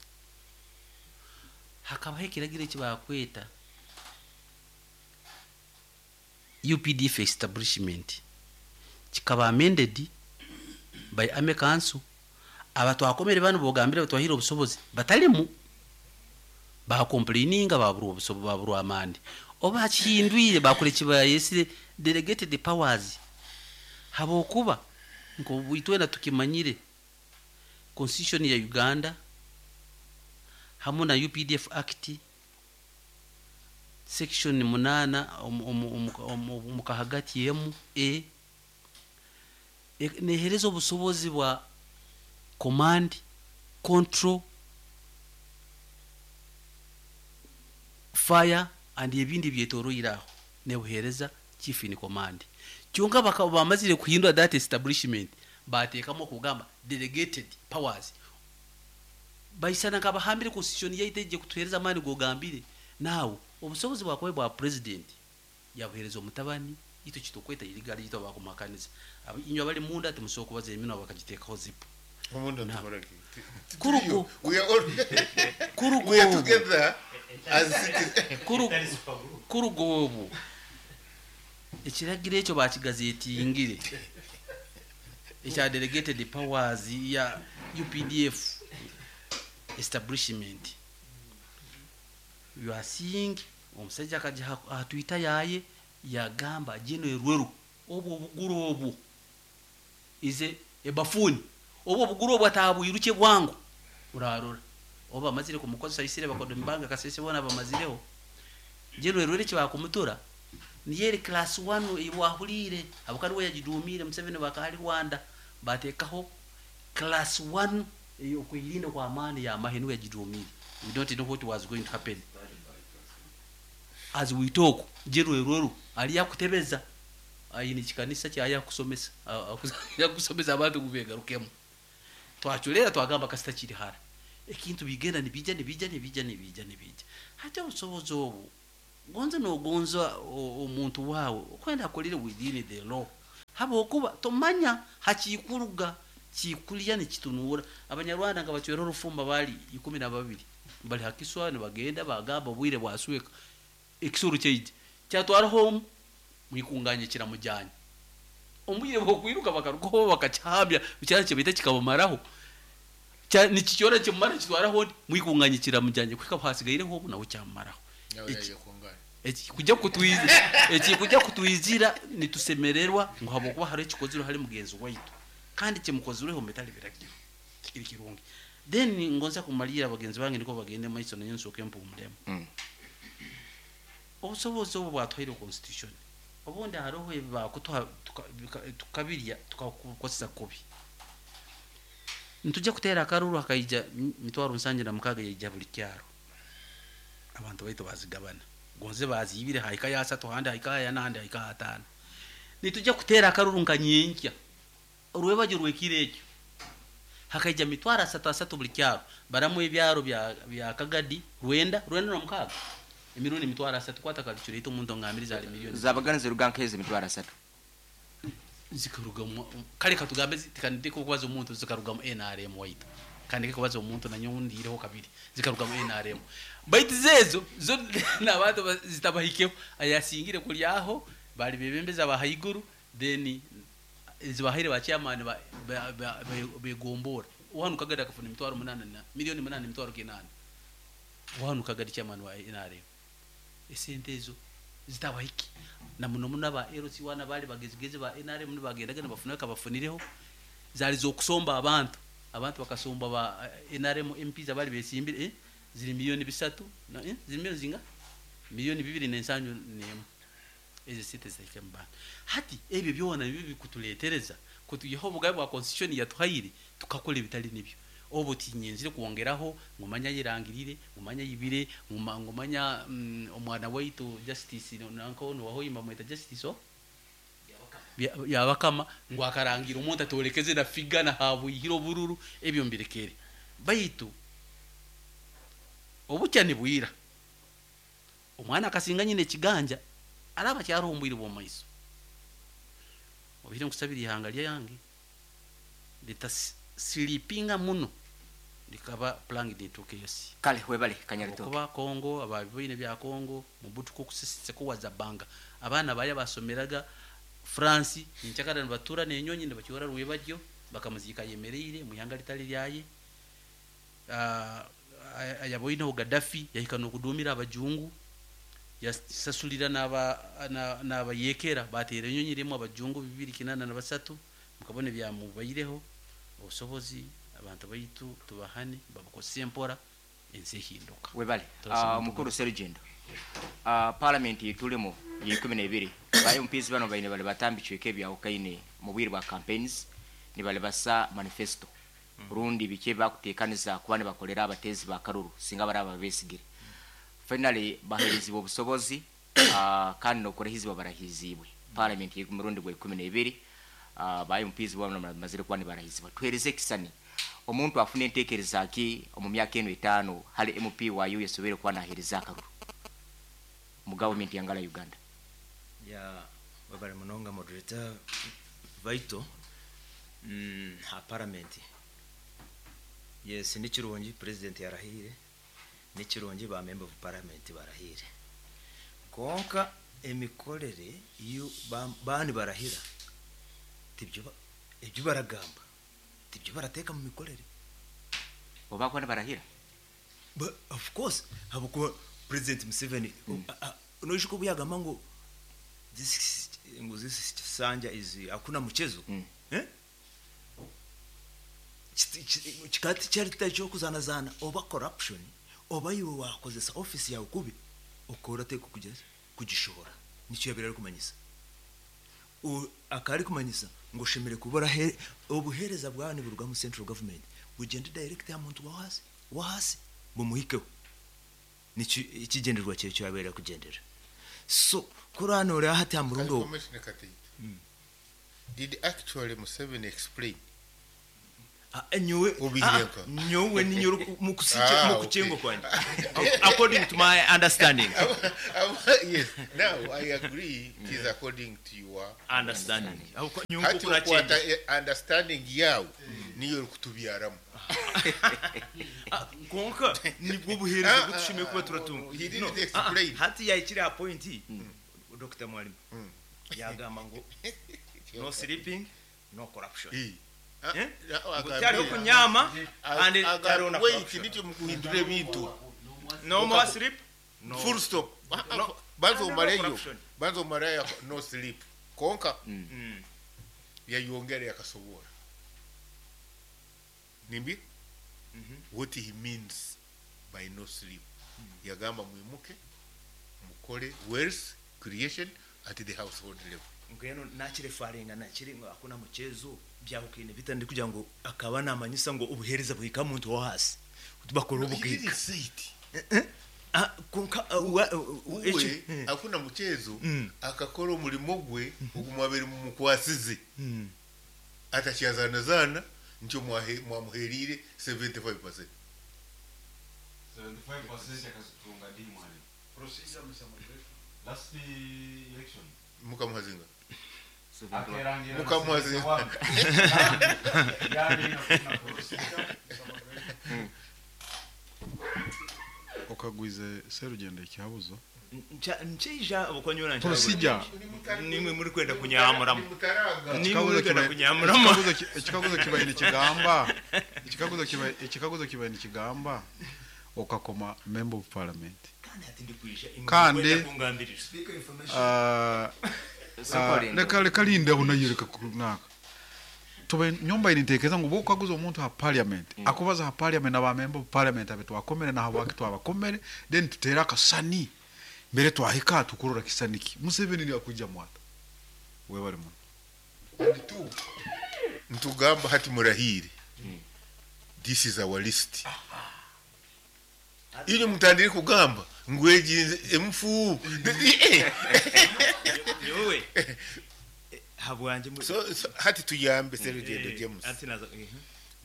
[SPEAKER 2] hakabaho ekiragiro ekibakweta U P D F establishment, kikaba amended by Army Council. Abatwakomere bano bogambire batwahire obusobozi batalimu, bakomplaininga, baburwa obusobozi, baburwa amani, oba kihindwire bakora ekibayesire delegated powers, habwokuba nko itwena tukimanyire constitution ya Uganda hamu na U P D F Act section munana omu- omu- omu- omu- omu kahagati emu e e- nehereza obusobozi bwa command, control, fire and ebindi byetoroire aho, nebuhereza chief in command. Kyonka bakaba bamazire kuhindura that establishment, bateekamu okugamba delegated powers, baisana nkabahambire constitution yaitu ejje kutuhereza amaani gogambire naawe obusobozi bwakuba bwa president yabuhereza omutabani itwe kitukweta irigali itwe bakumakaniza. Aba- inywe abali munda timusobola kubaza eminwa bakagiteekaho zipu.
[SPEAKER 4] Omundo.
[SPEAKER 2] Na.
[SPEAKER 4] Tukoraki?
[SPEAKER 2] Kurugo.
[SPEAKER 4] We are all
[SPEAKER 2] Kurugo
[SPEAKER 4] we are
[SPEAKER 2] obwo.
[SPEAKER 4] together as citizens.
[SPEAKER 2] Kuru- kuruga obwo ekiragiro ekyo bakigazetingire ekya delegated powers ya U P D F establishment. You are seeing omusajja akaja aha Twitter yaye yagamba gino erweru obwo obuguru obwo ize ebafuni obwo obuguru obwo atabwiruke bwangu, urarora oba bamazire kumukozesa isire bakodo mbanga kasese bona bamazireho gino erwere kibakumutura niyeri class one wahulire abukari we yagidumire Museveni bakali Rwanda batekaho class one okwirinda kwa amani ya mahe, niwe yagidumire. We don't know what was going to happen. As we talk, jero erweru ali yakutebeza ayini kikanisa kyaya kusomesa yakusomesa abantu kubegarukemu. Twachulera twagamba kasita kiri hara ekintu bigenda nibijja nibijja nibijja nibijja nibijja. Hati obusobozi obwo gonza nogonza o- omuntu waawe okwenda akolere within the law, habwokuba tomanya hakikuruga kikulya nikitunuura. Abanyarwanda nga bacwera orufumba bali ikumi na babiri bali hakiswa nibagenda bagamba obwire bwasweka ekisuru kyaija kyatwara home mwikunganye kiramujyanye omubwire bwokwiruka bakarugaho bakakihabya kyara kibaita kikabamaraho. Kya- nikikyora kimumara kitwaraho ndi mwikunganye kiramujyanye kwika hasigaireho obu nawe kyamumaraho.
[SPEAKER 4] Nawe
[SPEAKER 2] Eki-
[SPEAKER 4] yaje kungana.
[SPEAKER 2] Eki kujya kutwizira, eki kujya kutwizira nitusemererwa ngu habwokuba hariho ekikozirwe hali mugenzi waitu kandi kimukozireho metali biragiro kikiri kirungi. Then ngonza kumalira bagenzi bange niko bagende maiso nayo nsooke mpumulemu.
[SPEAKER 1] Mm.
[SPEAKER 2] Obusobozi obwo bwatwaire constitution, obundi hariho ebi bakutuha tuka- bika- tukabirya tukakukozesa kubi. Nitujja kuteera akaruru hakaija mi- mitwaro nsanju na mukaaga yaija buli kyaro, abantu baitu bazigabana gonze bazibire haika ya asatu handi haika ya nandi haika atano. Nitujja kuteera akaruru nka nyenkya orwebajo rwekiro ekyo hakaija mitwaro asatu asatu buli kyaro, baramu ebyaro bya, bya Kagadi rwenda rwenda na mukaaga emirundi mitwaro asatu kwata calculate omuntu ngambiriza ali miliyoni.
[SPEAKER 1] Zabagana ziruga nk'ezi emitwaro asatu.
[SPEAKER 2] Zikarugamu kale katugambe zi- tikandike kubaza omuntu zikarugamu N R M waitu, kandike kubaza omuntu nanyo ndiireho kabiri zikarugamu N R M, baitu zezo zo n'abantu ba- zitabahikeho ayasingire kulyaho bali bebembeza ba haiguru, then zibahaire ba chairman ba- ba- ba- be- begombora wanu Kagadi akafuna emitwaro munana na miliyoni munana emitwaro kinana wanu Kagadi chairman wa N R M. Esente ezo Zitabahiki na muno muno aba L C one bali bagezigezi ba N R M nibagendaga nibafunaka bafunireho zali zokusomba abantu abantu bakasomba ba N R M M Ps abali besimbire eh? Ziri milioni bisatu na eh? Ziri milioni zinga milioni bibiri n'ensanju n'emu ezo sente zitahika mu bantu. Hati ebyo byona nibyo bikutuleetereza kutuyeho obugabe bwa constitution yatuhaire tukakora ebitali nibyo. Obu tinyenzire kwongeraho ngumanya yirangirire ngumanya yibire ngumanya mm, omwana waitu justice nanko no wahoyimba mweta justice o yabakama ngo akarangira omuntu atolekeze na figana habuyihiro bururu ebyo mbirekere. Baitu obukya ni bwira omwana akasinga nyine ekiganja araba kyarumbwire bwo maiso obire nkusabira ihanga lyange litasilipinga muno likaba plangi nituke yosi
[SPEAKER 1] kale webale kanyarito
[SPEAKER 2] kuba Kongo ababiine bya Kongo mubutuko kusisitse kuwaza banga abana baya basomeraga France ninchakara batura nenyonyi ne bakiora rwebajyo bakamuzika yemereire muyanga litali lyaye ah ayaboine Gaddafi yahika no kudumira abajungu yasasulira naba naba yekera batera enyonyi rimwe abajungu bibiri kinana na basatu mukabone bya mubaireho obusobozi abantu baitu tubahane babakose empora ensi ehinduka.
[SPEAKER 1] Webale uh, mukuru Serugendo uh, parliament yitulemo ye ikumi na ibiri bayo mpizi bano baine bale batambichweke ebya okaine mu bwire bwa campaigns ni bale basa manifesto Burundi bike bakutekaniza kubane bakolera abatezi ba karuru singa baraba besigire. Finally baherezibwa obusobozi uh, kandi nokurahizibwa barahizibwe parliament ye murundi gwa ikumi na ibiri uh, bayo mpizi bano mazire kubane barahizibwa. Tuhereze kisani omuntu afune entekereza ki omu myaka eno etaano hali M P wa U yasobere kuba nahereza akaruru mu government yangala Uganda.
[SPEAKER 3] Ya wabare munonga moderator Vaito mm ha parliament. Yes, ni kirungi president yarahire ni kirungi ba member of parliament barahire. Konka emikorere iyo bani barahira tibyo ebyo baragamba tibyo barateka mu mikorere.
[SPEAKER 1] Oba kwana barahira?
[SPEAKER 3] But of course habuko President Museveni mm. Unoishuko buyagamba ngo this ngo this sanja is hakuna mchezo mm. Eh chikati charita cyo kuzana zana oba corruption oba yiwe wakozesa office yawe kubi okora teko kugeza kugishora nicyo yabira kumanyisa akari kumanyisa ngo shemere kubora obuhereza bwani buruga mu central government bugende direct ya muntu wa hasi wa hasi bumuhikeho nicyo ikigenderwa cyo cyo yabera kugendera. So kurano uri hati ya murundo.
[SPEAKER 4] Did actually Museveni explain?
[SPEAKER 3] Ah, nyowe nyowe ni nyoro mukusiche mukuchengo kwanje according to my understanding.
[SPEAKER 4] Yes, now I agree it is according to your
[SPEAKER 3] understanding.
[SPEAKER 4] Hati okwata understanding yawe niyo kutubyaramu.
[SPEAKER 3] Konka nibwo buhereza gutushimiye kuba turatunga.
[SPEAKER 4] He didn't explain.
[SPEAKER 3] Hati yayikira point Doctor Mwalimu yagamba ngo no sleeping no corruption. Cyariho kunyama and cyariho na
[SPEAKER 4] wait nityo mukuhindura ebintu
[SPEAKER 3] no more sleep
[SPEAKER 4] no full stop. Banzo maleyo banzo maleyo no sleep konka yayongera yakasobora nimbi what he means by no sleep. Yagamba mwimuke mukore wealth creation at the household level.
[SPEAKER 3] Ngeno nakire faringa nakire ngo akuna muchezo byahukine bitandi kugira ngo akaba namanyisa ngo ubuhereza buhika muntu wo hasi bakora ubugika. Ah konka
[SPEAKER 4] uwe akuna muchezo akakora umulimo gwe ogumwabere mu mukwasize atakyazana zana nicyo mwamuherire seventy-five percent.
[SPEAKER 7] seventy-five percent akazitunga ndi mwalimu. Procedure Mister Moderator. Last election
[SPEAKER 4] mukamuhazinga mukamuhazinga
[SPEAKER 8] okagwize Serugendo ekihabuzo
[SPEAKER 3] ncheija obukonyora
[SPEAKER 8] procedure
[SPEAKER 3] nimwe muri kwenda kunyamuramo nimwe muri kwenda kunyamuramo
[SPEAKER 8] ekikaguzo kibaye nikigamba ekikaguzo kibaye ekikaguzo kibaye nikigamba Okakoma member of parliament.
[SPEAKER 3] Kandi ati ndikwija
[SPEAKER 8] Kandi-
[SPEAKER 3] kungambirira.
[SPEAKER 8] Ah,
[SPEAKER 1] Soko
[SPEAKER 8] ah,
[SPEAKER 1] lindo.
[SPEAKER 8] leka leka lindeho nayo leka kunaka tube nyumba inintekereza ngo bokaguza omuntu ha parliament, akubaza ha parliament aba member of parliament abe twakomere na habwaki twabakomere, then tutera akasani mbere twahika tukurora kisaniki Museveni ni akuja mwata webale muno.
[SPEAKER 4] And two, ntugamba hati murahire, this is our list. Iyo mutandire kugamba ngweginze emufu.
[SPEAKER 3] Nyowe habwanje mu-
[SPEAKER 4] so, so hati tuyambe Serugendo
[SPEAKER 3] Eh,
[SPEAKER 4] James.
[SPEAKER 3] ati naza eh,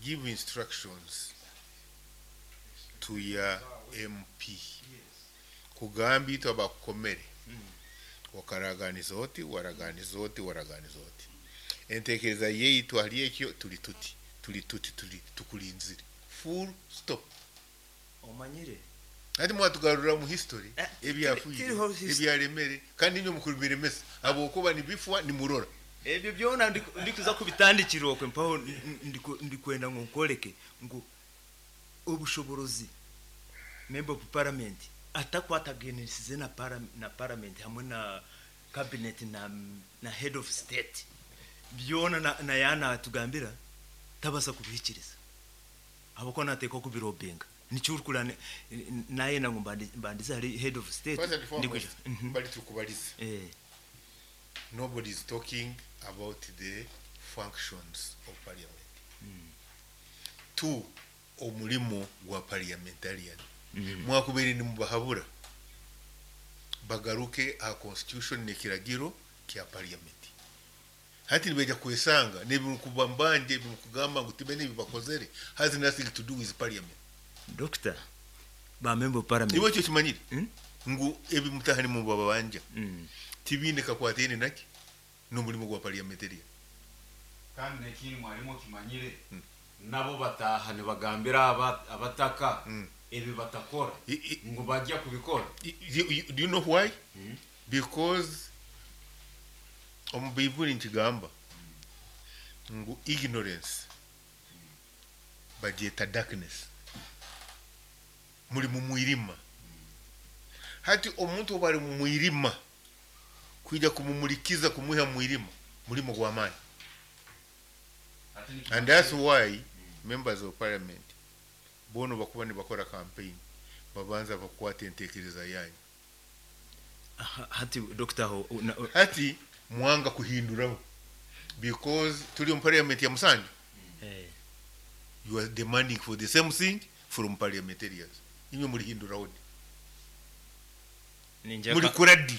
[SPEAKER 4] Give instructions to your M P kugamba itwe abakukomere wakaraganiza oti, waraganiza oti, waraganiza oti, entekereza yeitu hali ekyo tuli tuti tuli tuti tuli tukulinzire, full stop.
[SPEAKER 3] Omanyire.
[SPEAKER 4] Ati mwatugarura mu history
[SPEAKER 3] Eh,
[SPEAKER 4] ebyafuire
[SPEAKER 3] tiriho history.
[SPEAKER 4] ebyaremere, kandi niyo mukubiremesa abokuba nibifwa nimurora.
[SPEAKER 3] Ebyo byona ndiku- ndikuza kubitandikira okwe mpaho ndi- ndiku- ndikwenda ngo nkoreke ngu obushoborozi member of parliament atakwataganisize na para, na parliament hamwe na cabinet na, na head of state byona na, na yana atugambira tabasa kubihikiriza abako natekwa kubirobenga nicyurukura naye nango mbandi- mbandize hari head of state.
[SPEAKER 4] First and foremost,
[SPEAKER 3] Ndikuja- Mhm.
[SPEAKER 4] bali tukubaliza,
[SPEAKER 3] eh
[SPEAKER 4] nobody is talking about the functions of parliament. Two, omulimo gwa parliamentarian mwakubere nimubahabura bagaruke aha constitution nekiragiro kya parliament. Hati nibeja kwesanga nebimukuba mbanje bimukugamba ngu tibe nebi bakozere has nothing to do with parliament.
[SPEAKER 3] Doctor, ba member of parliament.
[SPEAKER 4] Iwe ekyo kimanyire
[SPEAKER 3] Mm.
[SPEAKER 4] ngu ebimutaha nimubabanja
[SPEAKER 3] mm.
[SPEAKER 4] tibine kakwatene naki n'omulimu gwa parliamentarian.
[SPEAKER 7] Kandi nekindi mwarimu okimanyire, nabo bataha nibagambira aba- abataka
[SPEAKER 4] Mm.
[SPEAKER 7] ebi batakora
[SPEAKER 4] I- i-
[SPEAKER 7] ngu bajya kubikora.
[SPEAKER 4] You, you, do you know why? Because omu Baibuli nkigamba ngu ignorance bagyeta darkness, muri mu mwirima. Hati omuntu oba ari mu mwirima, kwija kumumulikiza kumuha mwirima mulimo gw'amaani. And that's why members of parliament bono bakuba nibakora campaign babanza bakwata entekereza yanyu.
[SPEAKER 3] Aha, hati doctor aho na-
[SPEAKER 4] Hati mwanga kuhinduraho because tuli mu parliament ya musanju.
[SPEAKER 3] Eh,
[SPEAKER 4] You are demanding for the same thing from parliamentarians. Inywe mulihinduraho di
[SPEAKER 3] ninjya
[SPEAKER 4] muri kuradi.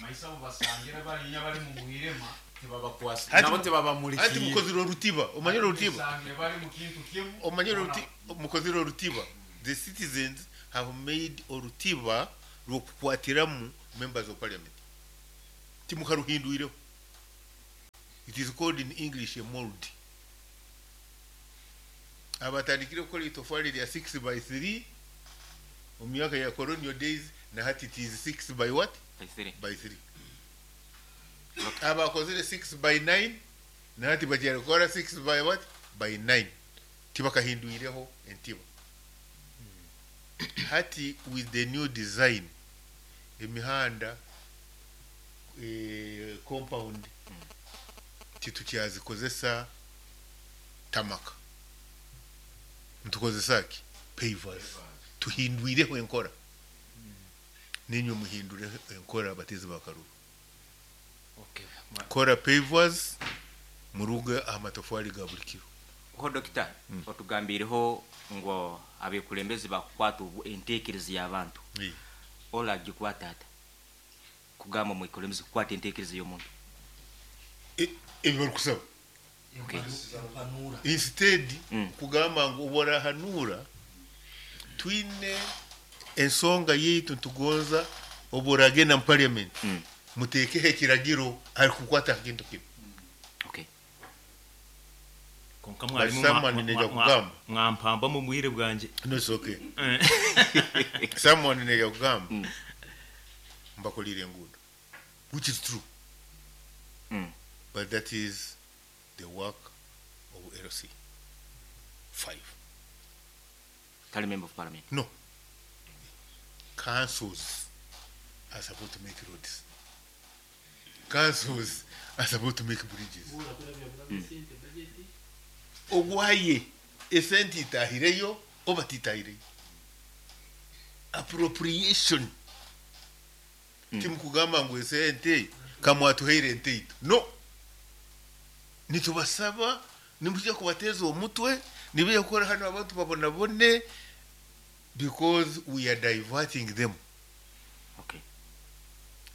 [SPEAKER 7] Maisa abo basangira barinya bari mu mwirema tibabakwasa
[SPEAKER 4] Hati-
[SPEAKER 7] nabo
[SPEAKER 4] hati
[SPEAKER 7] tibabamulikiye.
[SPEAKER 4] mukozire orutiba, omanyire orutiba.
[SPEAKER 7] Basangire bari mu kintu kimwe.
[SPEAKER 4] Omanyire oruti- mukozire orutiba. The citizens have made orutiba rwokukwatiramu members of parliament, timukaruhindwireho. It is called in English a mold. Abatandikire gukora itofali lya six by three mu myaka ya colonial days, na hati it is six by what?
[SPEAKER 1] By three.
[SPEAKER 4] By three. Abakozire six by nine, na hati bakyarikora six by what? By nine. Tibakahindwireho entiba. Hati with the new design, emihanda, eh, compound titukyazikozesa tamaka, ntukozesa ki? Pavers. Tuhindwireho enkora, ninywe muhindure enkora abatezi bakaruru.
[SPEAKER 1] Okay. Mwa-
[SPEAKER 4] Kora pavers muruge amatofali ga buli kiro.
[SPEAKER 1] Ho dokita, otugambireho ngo abekulembezi bakukwata obu- entekereza y'abantu.
[SPEAKER 4] Eh.
[SPEAKER 1] Olagikwata ata kugamba mwikulembezi kukwata entekereza y'omuntu?
[SPEAKER 4] E- ebyo barikusaba.
[SPEAKER 1] Okay.
[SPEAKER 4] Instead
[SPEAKER 1] Mm.
[SPEAKER 4] kugamba ngu oburahanura twine ensonga yeitu ntugonza oburagenda mu parliament,
[SPEAKER 1] Mm.
[SPEAKER 4] mutekeho ekiragiro ari kukwata kintu kimu.
[SPEAKER 1] Okay.
[SPEAKER 3] Konka mwarimu
[SPEAKER 4] But someone
[SPEAKER 3] mwa-
[SPEAKER 4] neja
[SPEAKER 3] mwa- mwa-
[SPEAKER 4] kugamba.
[SPEAKER 3] mwampamba mu bwire bwanje.
[SPEAKER 4] No, it's okay.
[SPEAKER 3] Eh.
[SPEAKER 4] Someone neja kugamba
[SPEAKER 1] Mm.
[SPEAKER 4] mbakolire enguudo, which is true,
[SPEAKER 1] Mm.
[SPEAKER 4] but that is the work of L C five.
[SPEAKER 1] Tali member of parliament.
[SPEAKER 4] No, councils are supposed to make roads, councils are supposed to make bridges. Ogwaye esente itahireyo oba titahireyo, appropriation.
[SPEAKER 1] Mm.
[SPEAKER 4] Timukugamba ngu esente kamwatuheire ente itu, no, nitubasaba nimujja kubateeza omutwe nibija kukora hano abantu babonabone because we are diverting them.
[SPEAKER 1] Okay.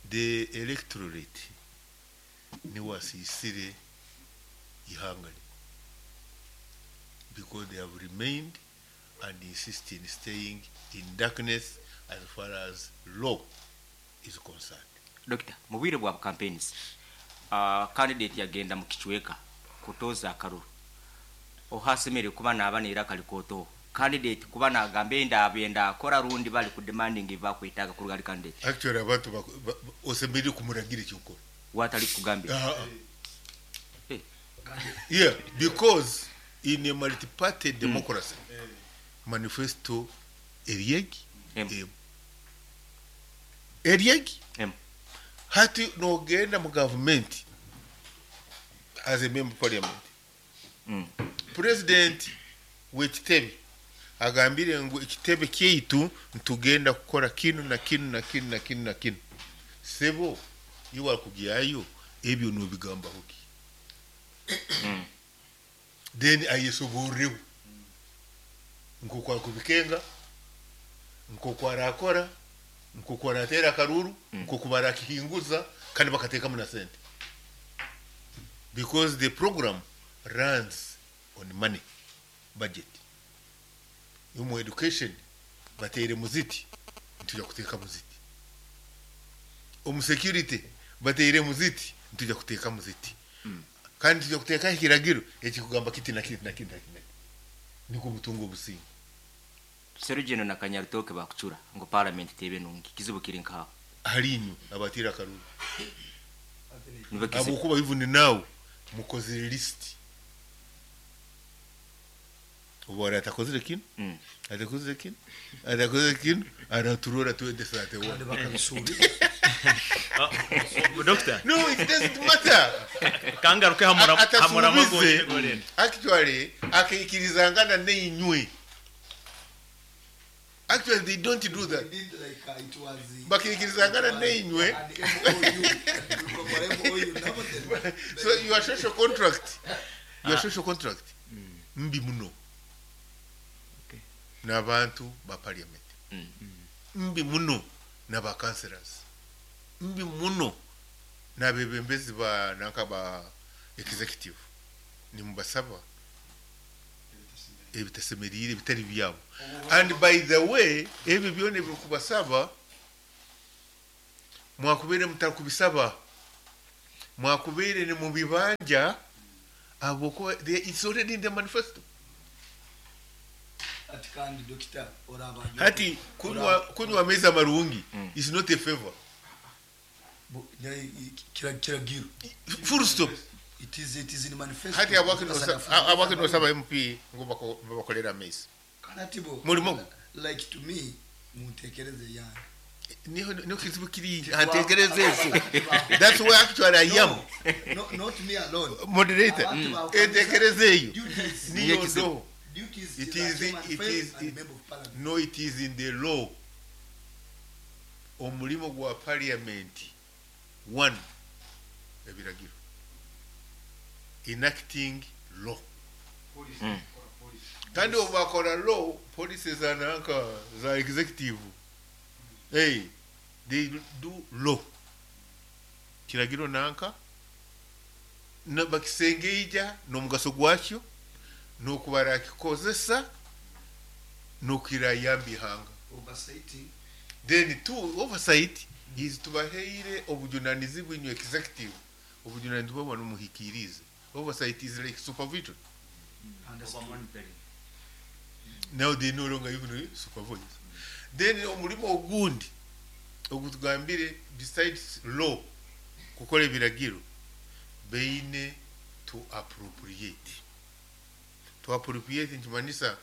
[SPEAKER 4] The electorate niwasisire ihanga because they have remained and insist in staying in darkness as far as law is concerned.
[SPEAKER 1] Doctor, mu bwire bwa campaigns, uh, candidate yagenda mu kicweka kutoza akaruru ohasemere kuba naba nera kalikoto candidate kuba nagamba enda abenda akora rundi bali ku demanding bakwitaga ku rugali candidate.
[SPEAKER 4] Actually abantu baku- ba- ba- osemberire kumuragira ekyokora
[SPEAKER 1] watali kugambira.
[SPEAKER 4] Ah, ah.
[SPEAKER 1] Eh.
[SPEAKER 4] Yeah, because in a multi-party democracy, manifesto eriegi
[SPEAKER 1] Em.
[SPEAKER 4] em. Eriegi
[SPEAKER 1] Em.
[SPEAKER 4] hati nogenda mu gavumenti as a member of parliament,
[SPEAKER 1] Mm.
[SPEAKER 4] president w'ekitebe agambire ngu ekitebe kyaitu ntugenda kukora kinu na kinu na kinu na kinu na kinu, sebo iwe akugyayo ebyo nobigambaho ki?
[SPEAKER 1] Mm.
[SPEAKER 4] Then ayesoboreho nkoku akubikenga, nkoku arakora, nkoku aratera akaruru, nkoku barakihinguza kandi bakateekamu na sente because the program runs on money, budget. Mu education bateire muziti, ntujya kuteeka muziti. Omu security bateire muziti, ntujya kuteeka muziti, kandi tujya kuteekaho ekiragiro ekikugamba kiti na kiti na kiti na kiti na kiti, niko obutunga obusinga.
[SPEAKER 1] Serugendo na Kanyarutoke bakucura ngo parliament tebe nungi kizibu kiri nkaho.
[SPEAKER 4] Hali inywe abatira akaruru.
[SPEAKER 1] Nibo kizibu.
[SPEAKER 4] Abukuba even now mukozere list, ubu wari atakozere kino,
[SPEAKER 1] Mm.
[SPEAKER 4] atakozere kino, atakozere kino, araturora twende sate
[SPEAKER 6] Kandi
[SPEAKER 4] one.
[SPEAKER 6] bakabisubiza.
[SPEAKER 3] Doctor.
[SPEAKER 4] No, it doesn't matter.
[SPEAKER 3] Kangaruke hamura hamura.
[SPEAKER 4] Atasubize.
[SPEAKER 3] Amagore.
[SPEAKER 4] Actually akaikirizangana neinywe, actually they don't do that.
[SPEAKER 6] Indeed, like, uh, it was, uh,
[SPEAKER 4] Bakiikirizangana neinywe.
[SPEAKER 6] an M O U. Tukakora M O U nabo then.
[SPEAKER 4] So your social contract, your social contract mbi muno
[SPEAKER 3] Okay.
[SPEAKER 4] n'abantu ba parliament,
[SPEAKER 1] Mm.
[SPEAKER 4] mbi muno n'aba councillors, mbi muno n'abebembezi ba nanka ba executive. Nimubasaba ebitasemeriire bitari byabo. And by the way, ebyo byona ebirikubasaba mwakubeire mutarikubisaba, mwakubeire nimubibanja habwokuba they- it's already in the manifesto.
[SPEAKER 6] Ati kandi dokita oraba
[SPEAKER 4] Hati kunywa kunywa amaizi amarungi is not a favor.
[SPEAKER 6] Bu- nya- kira- kiragiro.
[SPEAKER 4] Full stop.
[SPEAKER 6] It is it is in manifesto.
[SPEAKER 4] Hati abwaki nosaba M P ngu bako- babakolere amaizi?
[SPEAKER 6] Kandi ati bo
[SPEAKER 4] Mulimo gwo.
[SPEAKER 6] Like to me, muntekereze yange.
[SPEAKER 4] Niho niho kizibu kiri.
[SPEAKER 6] Titwa-
[SPEAKER 4] Antekereze ezo, that's where actually I am.
[SPEAKER 6] No, not me alone.
[SPEAKER 4] Moderator.
[SPEAKER 6] Abantu ba-
[SPEAKER 4] Entekereze eyo
[SPEAKER 6] Duties.
[SPEAKER 4] niyo ndo
[SPEAKER 6] Duties
[SPEAKER 4] It
[SPEAKER 6] is
[SPEAKER 4] is
[SPEAKER 6] a
[SPEAKER 4] it
[SPEAKER 6] chairman
[SPEAKER 4] is
[SPEAKER 6] and
[SPEAKER 4] it,
[SPEAKER 6] member of parliament.
[SPEAKER 4] No, it is in the law. Omulimo gwa parliament, one, ebiragiro, enacting law.
[SPEAKER 1] Mm.
[SPEAKER 4] Kandi obu bakora law, policy za nanka za executive, hey, they do law, kiragiro nanka na bakisengeija n'omugaso gwakyo n'okubara kikozesa n'okirayamba ihanga.
[SPEAKER 6] Oversighting.
[SPEAKER 4] Then two, oversight is tubaheire obujunanizibwa inywe executive, obujunanizibwa bwanu muhikirize. Oversight is like supervision.
[SPEAKER 6] Understood.
[SPEAKER 4] Now they no longer even supervise. Then omulimo ogundi ogutugambire, besides law, kukola ebiragiro, beine to appropriate. To appropriate nkimanyisa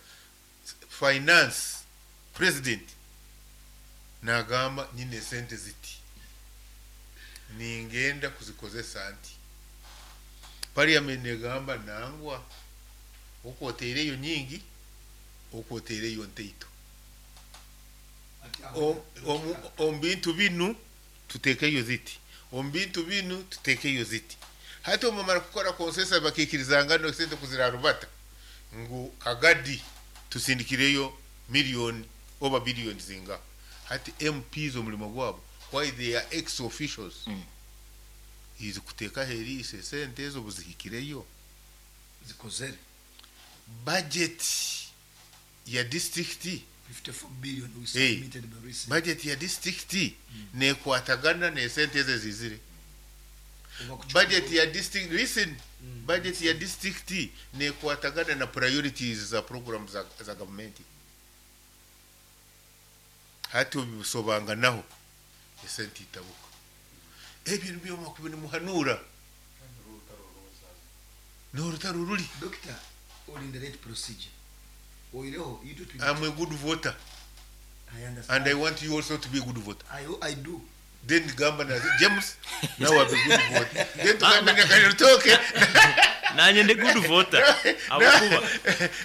[SPEAKER 4] Finance president nagamba nyine sente ziti ningenda kuzikozesa nti parliament negamba nangwa okwoteereyo nyingi okwoteereyo nteito. O- omu omu bintu binu tuteekeyo ziti, omu bintu binu tuteekeyo ziti. Hati omumara kukora consensus bakiikirizanga no sente kuzirarubata ngu kagadi tusindikireyo miliyoni oba biliyoni zinga. Hati M Ps omulimo gwabo, why they are ex officials,
[SPEAKER 1] Mm.
[SPEAKER 4] is kuteeka heriise sente ezo buzihikireyo
[SPEAKER 6] zikozere.
[SPEAKER 4] Budget ya district,
[SPEAKER 6] fifty-four billion we
[SPEAKER 4] Hey.
[SPEAKER 6] submitted by recent.
[SPEAKER 4] Budget ya district nekwatagana nesente ezo ezizire.
[SPEAKER 6] Oba kuchu-
[SPEAKER 4] Budget ya district, listen, budget ya district nekwatagana na priorities za program za, za gavumenti. Hati obisobanganaho esente itabuka. Ebyo nibyo makubi nimuhanura n'orutaro ruri.
[SPEAKER 6] Doctor, all in the right procedure oireho you do to
[SPEAKER 4] I'm a good voter
[SPEAKER 6] I understand.
[SPEAKER 4] And I want you also to be a good voter.
[SPEAKER 6] I, I do.
[SPEAKER 4] Then gamba na James now be good voter, then tugambe na Kanyutoke.
[SPEAKER 3] Nanjye ndi good voter abakuba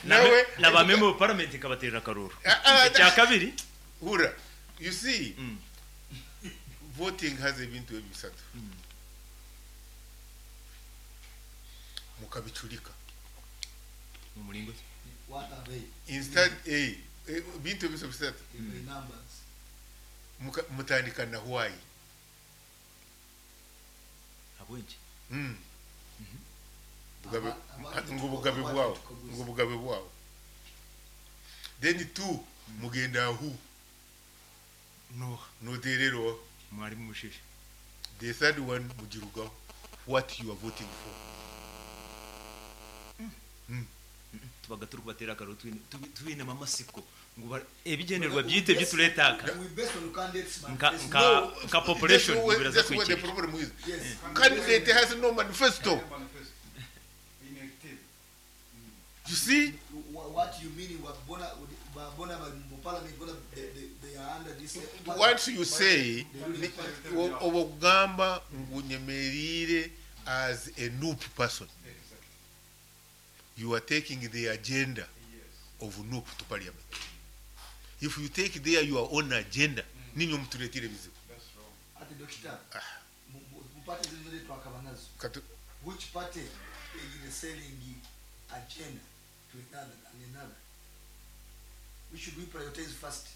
[SPEAKER 4] Nawe
[SPEAKER 3] na ba member of parliament nkabaterera akaruru.
[SPEAKER 4] Ah, ah,
[SPEAKER 3] icya kabiri.
[SPEAKER 4] Hura, you see,
[SPEAKER 3] Mm.
[SPEAKER 4] voting has ebintu ebisatu mukabicurika.
[SPEAKER 3] Mu muringo?
[SPEAKER 6] What are they?
[SPEAKER 4] Instead eh, eh, bintu ebisatu bisatu.
[SPEAKER 6] In the numbers.
[SPEAKER 4] Muka- mutandika na why.
[SPEAKER 3] Abwenje?
[SPEAKER 4] Mm. Bugabe-
[SPEAKER 6] Aba- abantu
[SPEAKER 4] ngo bugabe
[SPEAKER 6] abantu
[SPEAKER 4] bwawo
[SPEAKER 6] tukaguza.
[SPEAKER 4] Ngo bugabe bwawo. Then two, mugenda ahu
[SPEAKER 3] No.
[SPEAKER 4] notererwa.
[SPEAKER 3] Mwari mumushishe.
[SPEAKER 4] The third one, mugirugaho what you are voting for.
[SPEAKER 3] Tubaga turi kubatera akaruru twine- tubi- twinema amasiko ngo ba- ebigenderwa byite byituletaka.
[SPEAKER 6] We based on candidates
[SPEAKER 3] Nka-
[SPEAKER 6] manifesto.
[SPEAKER 3] nka- nka population
[SPEAKER 4] That's where,
[SPEAKER 3] biraza
[SPEAKER 4] that's where the
[SPEAKER 3] kwikirira.
[SPEAKER 4] problem is.
[SPEAKER 6] Yes.
[SPEAKER 4] Candidate has no manifesto, you see.
[SPEAKER 6] Wha- what you mean, bona bona mu parliament bona they, they, they are under this
[SPEAKER 4] Once you say
[SPEAKER 6] They really
[SPEAKER 4] ni-
[SPEAKER 6] fight.
[SPEAKER 4] o- obugamba ngu nyemerire as a N U P person, you are taking the agenda of N U P to parliament. If you take there your own agenda, ninyo mutuletire bizibu.
[SPEAKER 6] Ati doctor, mu- mu mu party zino zote twakaba nazo,
[SPEAKER 4] Katu-
[SPEAKER 6] which party is selling agenda to another and another? We should we prioritize first?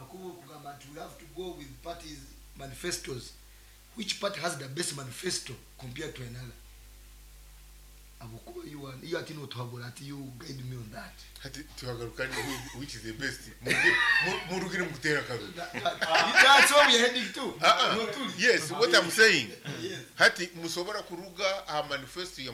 [SPEAKER 6] Akubu kugamba nti we have to go with parties manifestos. Which party has the best manifesto compared to another? Abokuba you are you ati notuhabura ati you guide me on that.
[SPEAKER 4] Hati tuhagaruka ni who- which is the best. Murugi- mu- murugire mukutera karuru.
[SPEAKER 6] That- that- that's where we are heading to.
[SPEAKER 4] Ah, ah.
[SPEAKER 6] Notuli.
[SPEAKER 4] Yes, what I'm saying,
[SPEAKER 6] Yes.
[SPEAKER 4] hati musobora kuruga aha manifesto ya